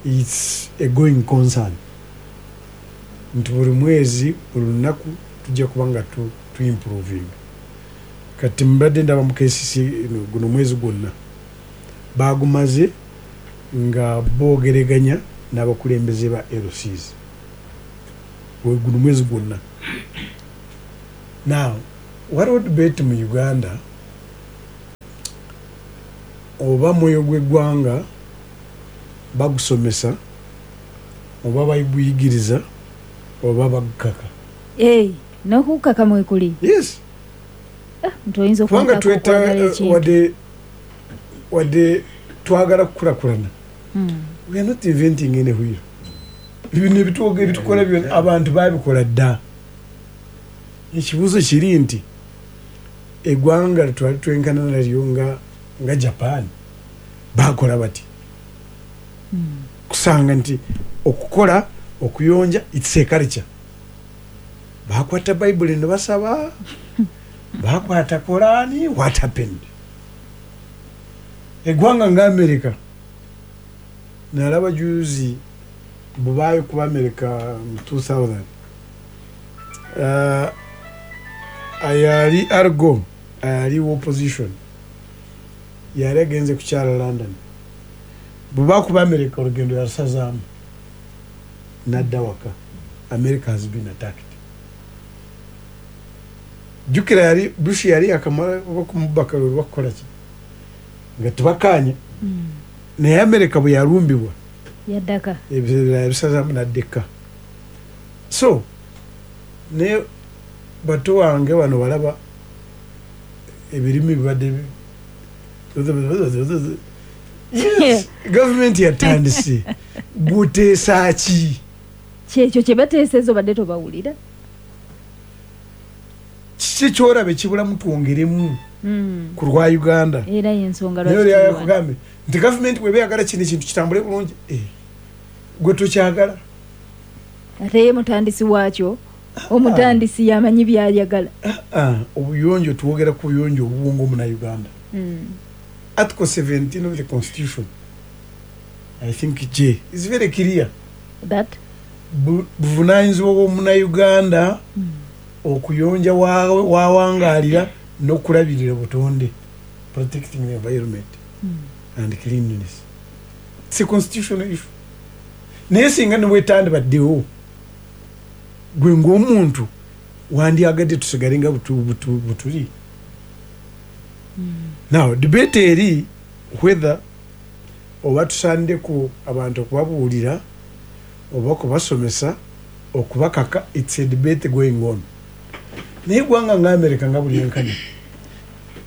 it's a going concern nti buli mwezi, buli lunaku tujja kuba nga tu, tu improving. Kati mbadde ndaba mu K C C eno, guno mwezi gwonna bagumaze nga boogereganya n'abakulembeze ba L Cs. Gwe guno mwezi gwonna. Now waliwo debate mu Uganda oba mwoyo gw'eggwanga bagusomesa oba baguyigiriza oba bagukaka. Ei, n'okukaka mwekuli. Yes. Nti oyinza kubanga okunkaka tweta okwagala ekintu. wadde wadde twagala kukulakulana, Mm. we are not inventing any wheel. Bino ebituoga ebitukola byonna abantu babikola dda. Ekibuuzo kiri nti eggwanga twali twenkana nalyo nga nga Japan bakola bati, kusanga nti okukola okuyonja it's a culture. Bakwata Bayibuli ne basaba, bakwata Korani. What happened? Eggwanga nga America, nalaba juzi bubaayo kuba America mu two thousand, uh, ayali Al Gore ayali opposition yali agenze kukyala London. Bwe kuba America olugendo yalusazaamu nadda waka. America has been attacked. Jjukira yali Bush yali akamala oba kumubaka lwe bakukola ki nga tebakanye, naye America bwe yalumbibwa yaddaka. Ebirala yabisazaamu naddeka. So ne bato wange wano balaba ebirimi bibadde bi- Yes, gavumenti yatandise, guteesa ki? Kyekyo kye bateeseza obadde tobawulira. Kiki kyolaba ekibulamu twongeremu Mm. ku lwa Uganda? Era yensonga naye lwaki oli tuli wano. Yakugambe nti gavumenti bweba eyagala kino ekintu kitambule bulungi, eh, gwe tokyagala. Ate ye mutandisi waakyo, omutandisi yamanyi byayagala. Ah, obuyonjo tuwogera ku buyonjo obuwongo Munnayuganda. Mm. Article seventeen of the Constitution, I think J, is very clear. That? Bu- buvunaanyizibwa bw'Omunnayuganda okuyonja wa- wawangaalira n'okulabirira butonde, protecting the environment and cleanliness. It's a constitutional issue. Naye singa ne bwetandibaddewo, gwe ng'omuntu wandyagadde tusigale nga butu- butu- butuli. Now debate eri whether oba tusandeko abantu okubabuulira oba okubasomesa okubakaka, it's a debate going on. Naye eggwanga nga America nga buli enkani,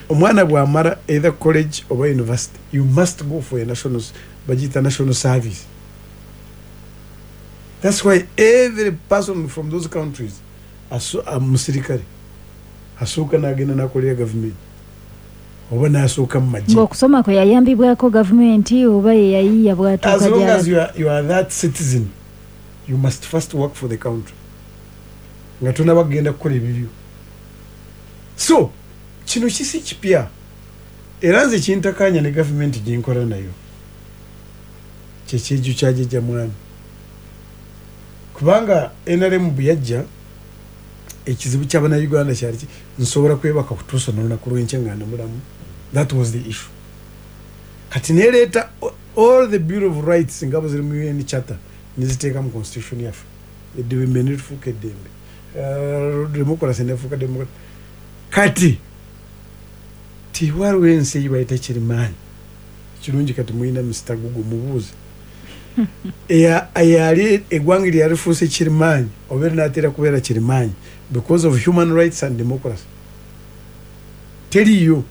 omwana bw'amala either college oba university, you must go for a national, bagiyita national service. That's why every person from those countries aso- a- musirikale asooka n'agenda n'akolera gavumenti oba n'asooka mu magye. Ng'okusoma kwe yayambibwako gavumenti oba ye yayiiya bw'atuuka As long as gy'alaga. you are, you are that citizen, you must first work for the country nga tonaba kugenda kukola ebibyo. So kino kisi kipya, era nze kintakanya ne gavumenti gyenkola nayo kyekyejo kyajjajja mwami, kubanga N R M bwe yajja, ekizibu ky'abannayuganda kyali ki nsobola kwebaka kutuusa n'olunaku lw'enkya nga ndi mulamu. That was the issue. Kati nereeta all the Bill of Rights nga bwe ziri mu U N Charter, neziteeka mu constitution yaffe, eddembe nerifuuka eddembe, Eh, democracy nefuuka democracy. Kati tiwaliwo ensi eyi bayita kirimaanyi kirungi. Kati mulina Mister Google, mubuuze. Eya- eyali eggwanga lyalifuuse kirimaanyi oba erinaatera kubeera kirimaanyi because of human rights and democracy. Teriiyo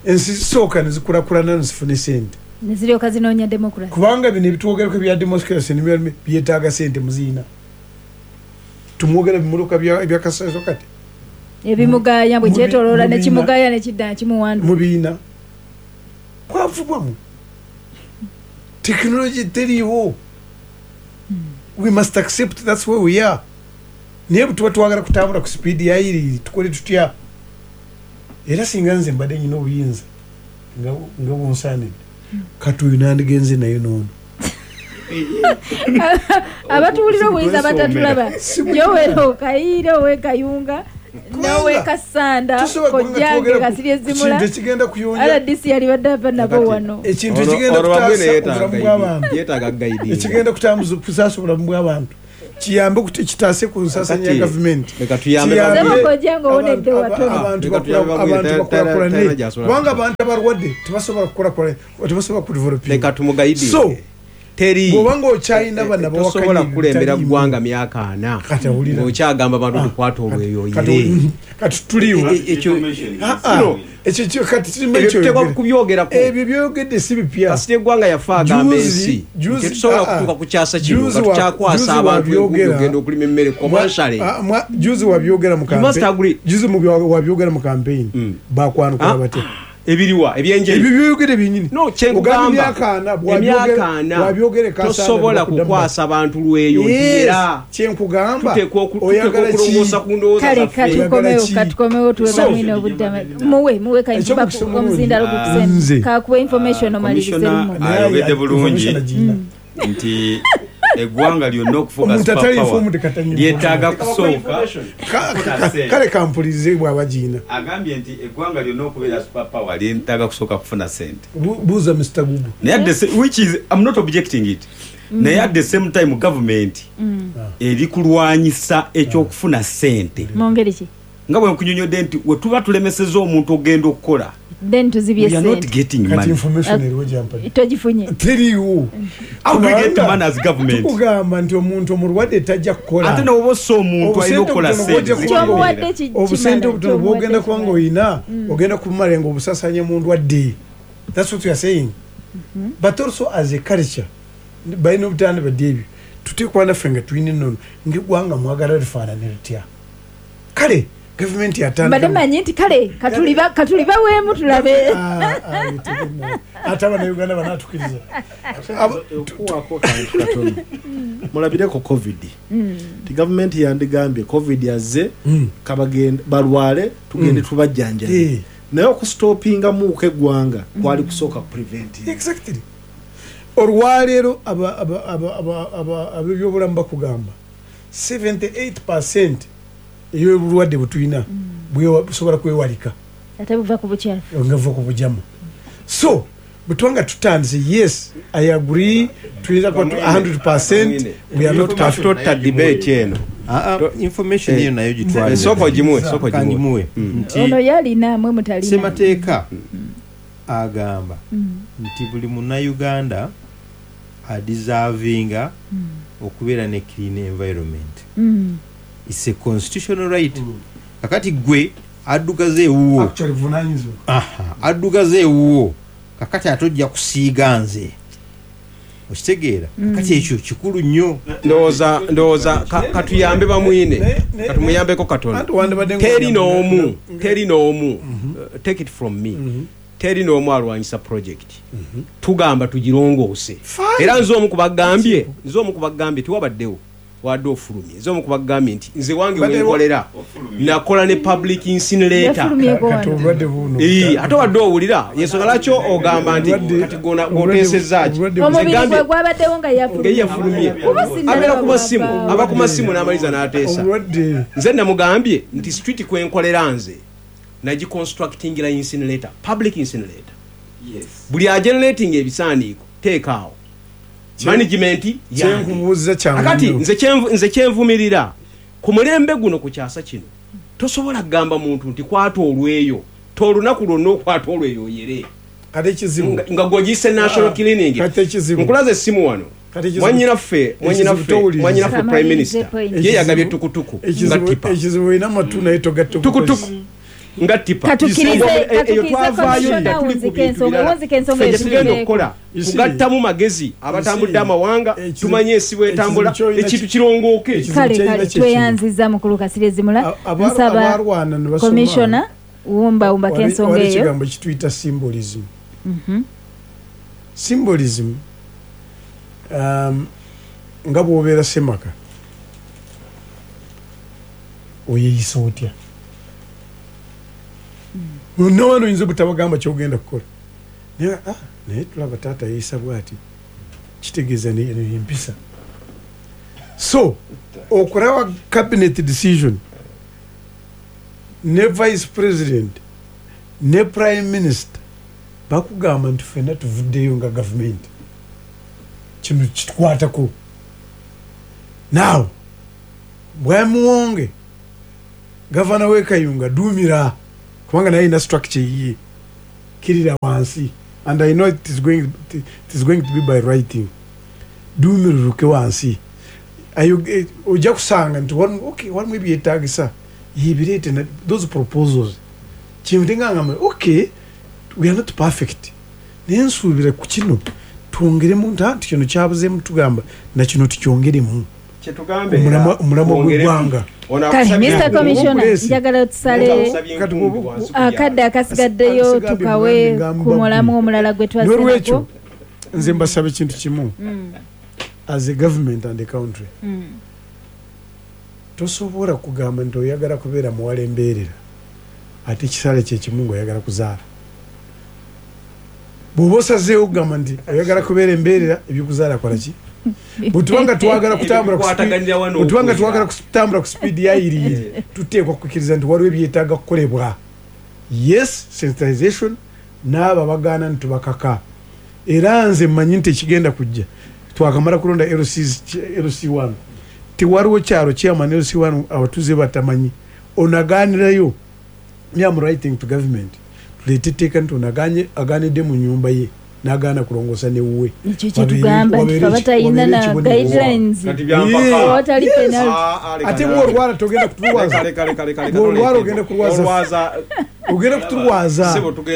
ensi zisooka nezikulakulana nezifuna esente neziryoka zinoonya democracy. Kubanga bino ebitwogerako ebya democracy nebya- byetaaga sente muziina. Tumwogera bimuluka ebyakasaso kati ebimugaya bwe Mubi- kyetoloola mubiina. Nekimugaya nekidda nekimuwandu. Mubiina kwavubwamu tekinologi teriiwo. We must accept that's where we are. Naye bwe tuba twagala kutambula ku sipiidi yayiriri, tukole tutya? Era singa nze mbadde nyina obuyinza nga nga bunsaanidde, kati oyo nandigenze naye noono. Abatuwulira obuyinza batatulaba, Joel Kayiira ow'Ekayunga n'ow'Ekasanda, Tusobola kubanga kojjange twogera ku Kasirye Zimula, kintu ekigenda kuyonja R D C yalibadde ava nabo wano. Ekintu Olwo- ekigenda olwo Wabwine kutaasa yeetaaga obulamu bw'abantu, yeetaaga guiding. Ekigenda kutambuza kutaasa obulamu bw'abantu, kiyambe kuti kitaase ku nsasanya ya Kati, gavumenti. leka tuyambe Kiyambe Sebo kojjange owonedde abantu- watono. abantu Leka bakula- tuyambe Wabwine, abantu ta- bakulakulane, talina gy'asobola kubanga kutuuka. abantu abalwadde tebasobola kukulakulana, tebasobola kudevelopinga. Leka tumuguidinge. So teri bw'oba ng'okyalina bano tosobola abawakanya kukulembera ebitaliimu. Ggwanga myaka ana Kati awulira. ng'okyagamba abantu tukwata olweyoyere. Kati- kati tuliwo. E- e- ekyo Ah, ah. No. Ekyo kyo kati kirima Ebyo tuteekwa ekyoyogera. kubyogerako. Ebyo byogedde si bipya. Kasita eggwanga yafe agamba Juzi- ensi juzi- tetusobola ah, ah. kutuuka ku kyasa kino Juzi nga wa- tukyakwasa juzi abantu enkumbi wabyogera. ogenda okulima emmere commercially. Mwa- ah, mwa- juzi wabyogera mu You must campaign. agree. Juzi mu bya- wabyogera mu campaign, bakwanukula Ah, batya? Ebiriwa ebyenjeri? Ebyo byogere byenyini. No, kyenkugamba, Ogamba emyaka ana, bwabyogera- emyaka ana bwabyogera e Kassanda, tosobola bakuddamu. kukwasa bantu lweyo nti Yes, era kyenkugamba tuteekwa oku- tuteekwa oyagala ki? okulongoosa ku ndowooza Kale zaffe. katukomewo. Ki? Katukomewo tuwe So- bamwine obudde. Muwe muwe Ekyomukisa omulungi. omuzindaalo Nze. gukusende kakuwa information omalirize Commissioner lumu. ayogedde bulungi Information agirina. Nti eggwanga lyonna okufuuka Omuntu atali superpower informed katanyi lyetaaga kusooka Ka- kufuna ka- ssente. Kale kampulirize bw'aba giina. Agambye nti eggwanga lyonna okubeera superpower lyetaaga kusooka kufuna sente. Bu- buuza Mister Google. Naye at the sa- which is I'm not objecting it, naye at the same time government eri kulwanyisa ekyokufuna sente. Mu ngeri ki? Nga bwe nkunyonyodde nti we tuba tulemeseza omuntu ogenda okukola, Then tuzibye we are not sente. getting Kati money. information eriwo gyampadde? Togifunye. Teriiwo. How do we get Kubanga money as government? Tukugamba nti omuntu omulwadde tajja kukola. Ate noba ossa omuntu alina Obusente okukola obutono sente bw'ojja zigenda. Kyomuwadde Obeera. ki- obusente kimala, obutono bwogenda kyomuwadde kuba nga kimala. oyina, ogenda kubumala nga obusasanya mu ndwadde. That's what we are saying. But also as a culture balina obutandi badde ebyo tuteekwa naffe nga tulina ennono ngaeggwanga mwagala lifaanane litya. Kale Gavumenti yatandika Mbadde manyi nti kale katuliba katuliba weemu tulabe. Ah, ah, tegina. Ate abannayuganda banaatukiriza. Okuwaako kantu katono, mulabireko COVID ti gavumenti yandigambye COVID yazze, kabagende balwale, tugende tubajjanjabe. Eh. Naye okustopingamuuko eggwanga kwali kusooka prevent. Exactly. Olwaleero aba- aba- aba- aba- aba- ab'ebyobulamu bakugamba seventy-eight percent ey'obulwadde bwe tulina bwewa- busobola kwewalika. Ate buva ku bukyafu. Nga buva ku bujamu. So bwe tuba nga tutandise, yes, I agree, tuyinza kuba tu- one hundred percent we are not perfect. Tota debate eno. Ah, ah, information eyo nayo gitwale. Eh, sooka ogimuwe, sooka ogimuwe. Kangimuwe nti Ono yalina, mwe mutalina. Semateeka agamba nti buli munnayuganda adeservinga okubeera ne clean environment. Mm. It's a constitutional right. Kakati gwe addugaza ewuwo, Actually buvunaanyizibwa. Aha, addugaza ewuwo, kakati ate ojja kusiiga nze, okitegeera? Kakati ekyo kikulu nnyo. Ndowooza ndowooza ka- katuyambe bamwine, Ne- ne- katumuyambeko katono. Anti wandibadde nga- Teri n'omu, teri n'omu, uh, take it from me, teri n'omu alwanyisa project. Tugamba tugirongoose. Fine. Era nze omu kubagambye nze omu kubagambye tiwabaddewo wadde ofulumye, nze omu kubagambye nti nze wange Badde wenkolera nakola ne public incinerator. Yafulumyeko Kati wano. obulwadde buno Ee, ate wadde owulira yensonga lwaki ogamba nti Obulwadde- kati gona- gwoteesezza ki? obulwadde- Omubiri Nze gwe gambye- gwabaddewo nga nga yafulumye. yafulumye. Kuba sinnalaba Abeera ku masimu, bw'avaawo. aba ku masimu n'amaliza n'ateesa. Obulwadde Nze namugambye nti street kwenkolera nze nagiconstructingira incinerator, public incinerator. Buli agenerating ebisaaniiko teekaawo management yange. Kyenkubuuza kyangu Akati nnyo. nze kyenvu- nze kyenvumirira ku mulembe guno, ku kyasa kino, tosobola kugamba muntu nti kwata olweyo, tolunaku lwonna okwata olweyo oyere. Kati ekizibu nga nga gwogiyise national Ah, cleaning. Kati ekizibu Nkulaza essimu wano. Kati ekizibu- Mwanyinaffe, mwanyinaffe, towuliriza. mwanyinaffe prime Kamalirize minister point. ye yagabye tukutuku nga Ekizibu tipa. Ekizibu olina amatu naye togatta. Tukutuku nga tipa. Katukirize- Eyo- eyo Katukirize twavaayo commissioner dda, tuli ku wunzika bintu ensonga, birala. wunzika ensonga Ffe kye tugenda etuveeko. okukola You see- kugattamu magezi abatambudde amawanga, ekizibu- tumanye ensi bwetambula, ekizibu ky'olina ekintu ki- kirongooke. ekizibu Kale ky'olina kale kye kimu. Tweyanziza mukulu Kasirezimula. Aba- Nsaba abalwana ne basoma- commissioner wumbawumbako Wali- ensonga wali eyo. ekigambo kituyita symbolism. Symbolism, um, nga bw'obeera semaka oyeyisa otya bonna wano, oyinza obutabagamba kyogenda kukola, naye ah, naye tulaba taata yeeyisa bwati, kitegeeza eno empisa. So okulaba cabinet decision ne vice president ne prime minister bakugamba nti ffenna tuvuddeyo nga gavumenti, kino kitukwatako. Now bwamuwonge gavana w'ekayunga duumira, kubanga naye ina structure yiye kirira wansi, and I know it is going, it is going to be by writing, duumiruruke wansi. Ayo- eh, ojja kusanga nti walimu- okay, walimu ebyetagisa yebireete na- those proposals. Kintu ngangamba okay, we are not perfect, naye nsuubira ku kino twongeremu nti anti kino kyabuzeemu, tugamba nakino tukyongeremu. Kyetugambe Omulamwa- omulamwa gw'eggwanga. Kale Mister Commissioner, Obuleesi. njagala tusale Kati bw'obu- akadde akasigaddeyo Asigadde tukawe ngamba ku mulamu omulala gwe N'olwekyo twasenako. nze mbasaba ekintu kimu as a government and a country. Tosobola kugamba nti oyagala kubeera muwala embeerera ate ekisale kyekimu ngaoyagala kuzaala. Bw'oba osazeewo kugamba nti oyagala kubeera embeerera, ebyokuzaala kola ki? Bwetubanga twagala kutambula ku speed- Bikwataganira wano bwetubanga okwera. twagala kutambula ku speed yayiriyiri, tuteekwa kukkiriza nti waliwo ebyetaaga kukolebwa. Yes, sensitization n'abo abagaana nti tubakaka. Era nze mmanyi nti ekigenda kujja, twakamala kulonda L C one, tewaliwo kyalo chairman L C one abatuuze batamanyi. Onaganirayo, me am writing to government tuleete etteeka nti ono aganye- aganidde mu nyumba ye n'agaana kulongoosa newuwe. Ekyo kyetugamba nti fe abatayina na guidelines Kati byampaka. awatali penalty. Ate bwolwala togenda kutulwaza, bwolwala ogenda kulwaza, ogenda kutulwaza.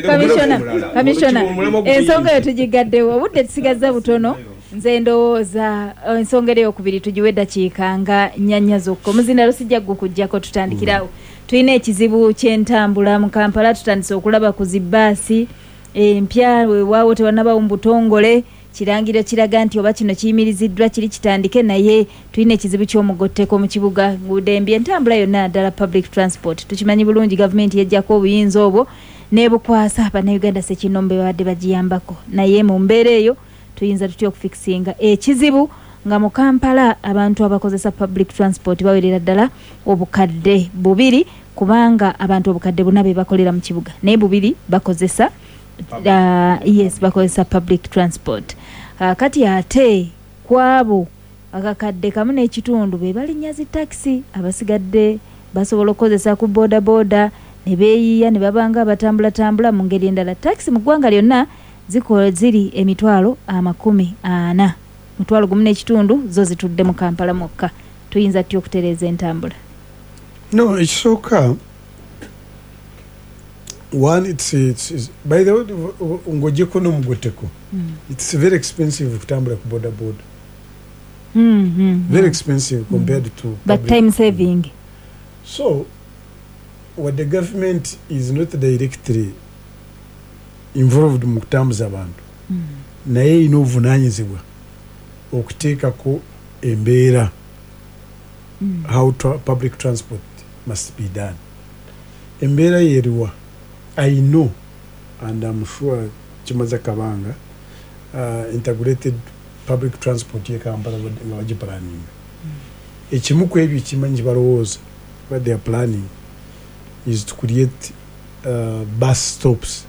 Commissioner, Commissioner, ensonga eyo tugigaddewo, obudde tusigazza butono. Nze ndowooza eh, ensonga eri eyokubiri tugiwe eddakiika nga nnyanya zokka. Omuzindalo sijja gukuggyako, tutandikirawo. Tulina ekizibu ky'entambula mu Kampala, tutandise okulaba ku zibbaasi empya, weewaawo tewannabawo mu butongole kirangiro kiraga nti oba kino kiyimiriziddwa kiri kitandike, naye tulina ekizibu ky'omugotteko mu kibuga, nguudo embi, entambula yonna ddala public transport. Tukimanyi bulungi gavumenti yeggyako obuyinza obwo n'ebukwasa bannayuganda ssekinnoomu be babadde bagiyambako, naye mu mbeera eyo tuyinza tutya okufikisinga ekizibu nga mu Kampala abantu abakozesa public transport bawerera ddala obukadde bubiri, kubanga abantu obukadde buna be bakolera mu kibuga naye bubiri bakozesa uh, yes bakozesa public transport. Uh, kati ate kwabo akakadde kamu n'ekitundu be balinnya zi takisi, abasigadde basobola okukozesa ku boda boda ne beeyiiya ne babanga abatambulatambula mu ngeri endala. Takisi mu ggwanga lyonna zikola ziri emitwalo amakumi ana, mutwalo gumu n'ekitundu zo zitudde mu Kampala mwokka. Tuyinza tutya okutereeza entambula? No, ekisooka one, it's, it's, it's, by the way, ng'ogyeko n'omugotteko, Mm. it's very expensive okutambula ku boda boda, Mm, mm, very mm. expensive compared to but public. Time saving. So what the government is not directly involved mu kutambuza abantu, Mm. naye erina obuvunaanyizibwa okuteekako embeera Mm. how tra public transport must be done. Embeera yeriwa, I know and I'm sure kimaze kabanga, uh, integrated public transport ye Kampala nga bagiplanninga, ekimu ku ebyo kimanyi balowooza, what they are planning is to create uh, bus stops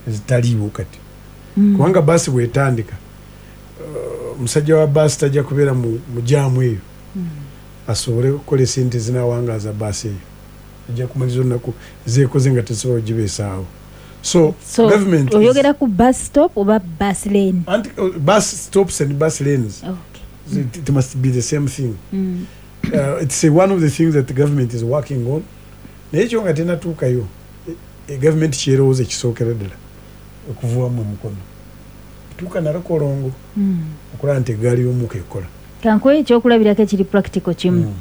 ezitaliiwo kati, Mm. kubanga baasi bwetandika, uh, omusajja wa baasi tajja kubeera mu mu jaamu eyo Mm. asobole okukola esente zinawangaaza baasi eyo, ejja kumaliriza olunaku zeekoze nga tesobola kugibeesaawo. So, so government is- oyogera ku bus stop oba bus lane? Anti, uh, bus stops and bus lanes, okay. it, it must be the same thing. Mm. uh, it's uh, one of the things that the government is working on, naye ekyo nga tenatuukayo, e, e government kyerowooza ekisookera ddala okuvuwamu omukono tuuka nalakolongo Mm. okulaba nti eggaali y'omukka ekola. Kankuwe ekyokulabirako ekiri practical kimu. Mm.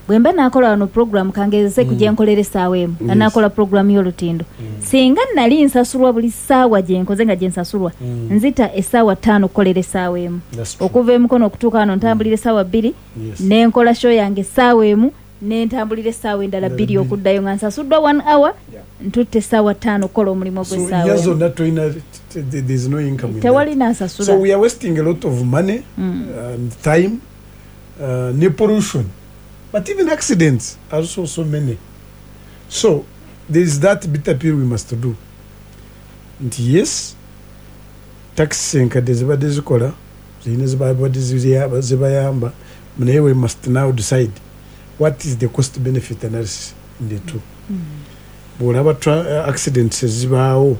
Bwe mba nakola wano program, kangezese ku Mm. gye nkolera essaawa emu, Yes. nga nakola program y'olutindo, singa nali nsasulwa buli ssaawa gye nkoze nga gye nsasulwa, Mm. nzita essaawa ttaano okukolera essaawa emu. That's true. Okuva emukono okutuuka wano ntambulira essaawa bbiri, Yes. nenkola show yange essaawa emu, nentambulira essaawa endala bbiri okuddayo, nga nsasuddwa one hour, ntutte essaawa ttaano okukola omulimu So gw'essaawa year emu. zonna tolina, there's no income in Tewali that. nansasula. So we are wasting a lot of money Mm. and time, uh, ne pollution, but even accidents are also so many. So there is that bitter pill we must do, nti yes, taxi enkadde zibadde zikola, zirina zibadde ziya- zibayamba, naye we must now decide what is the cost benefit analysis in the two. Bw'olaba tra- uh, accidents ezibaawo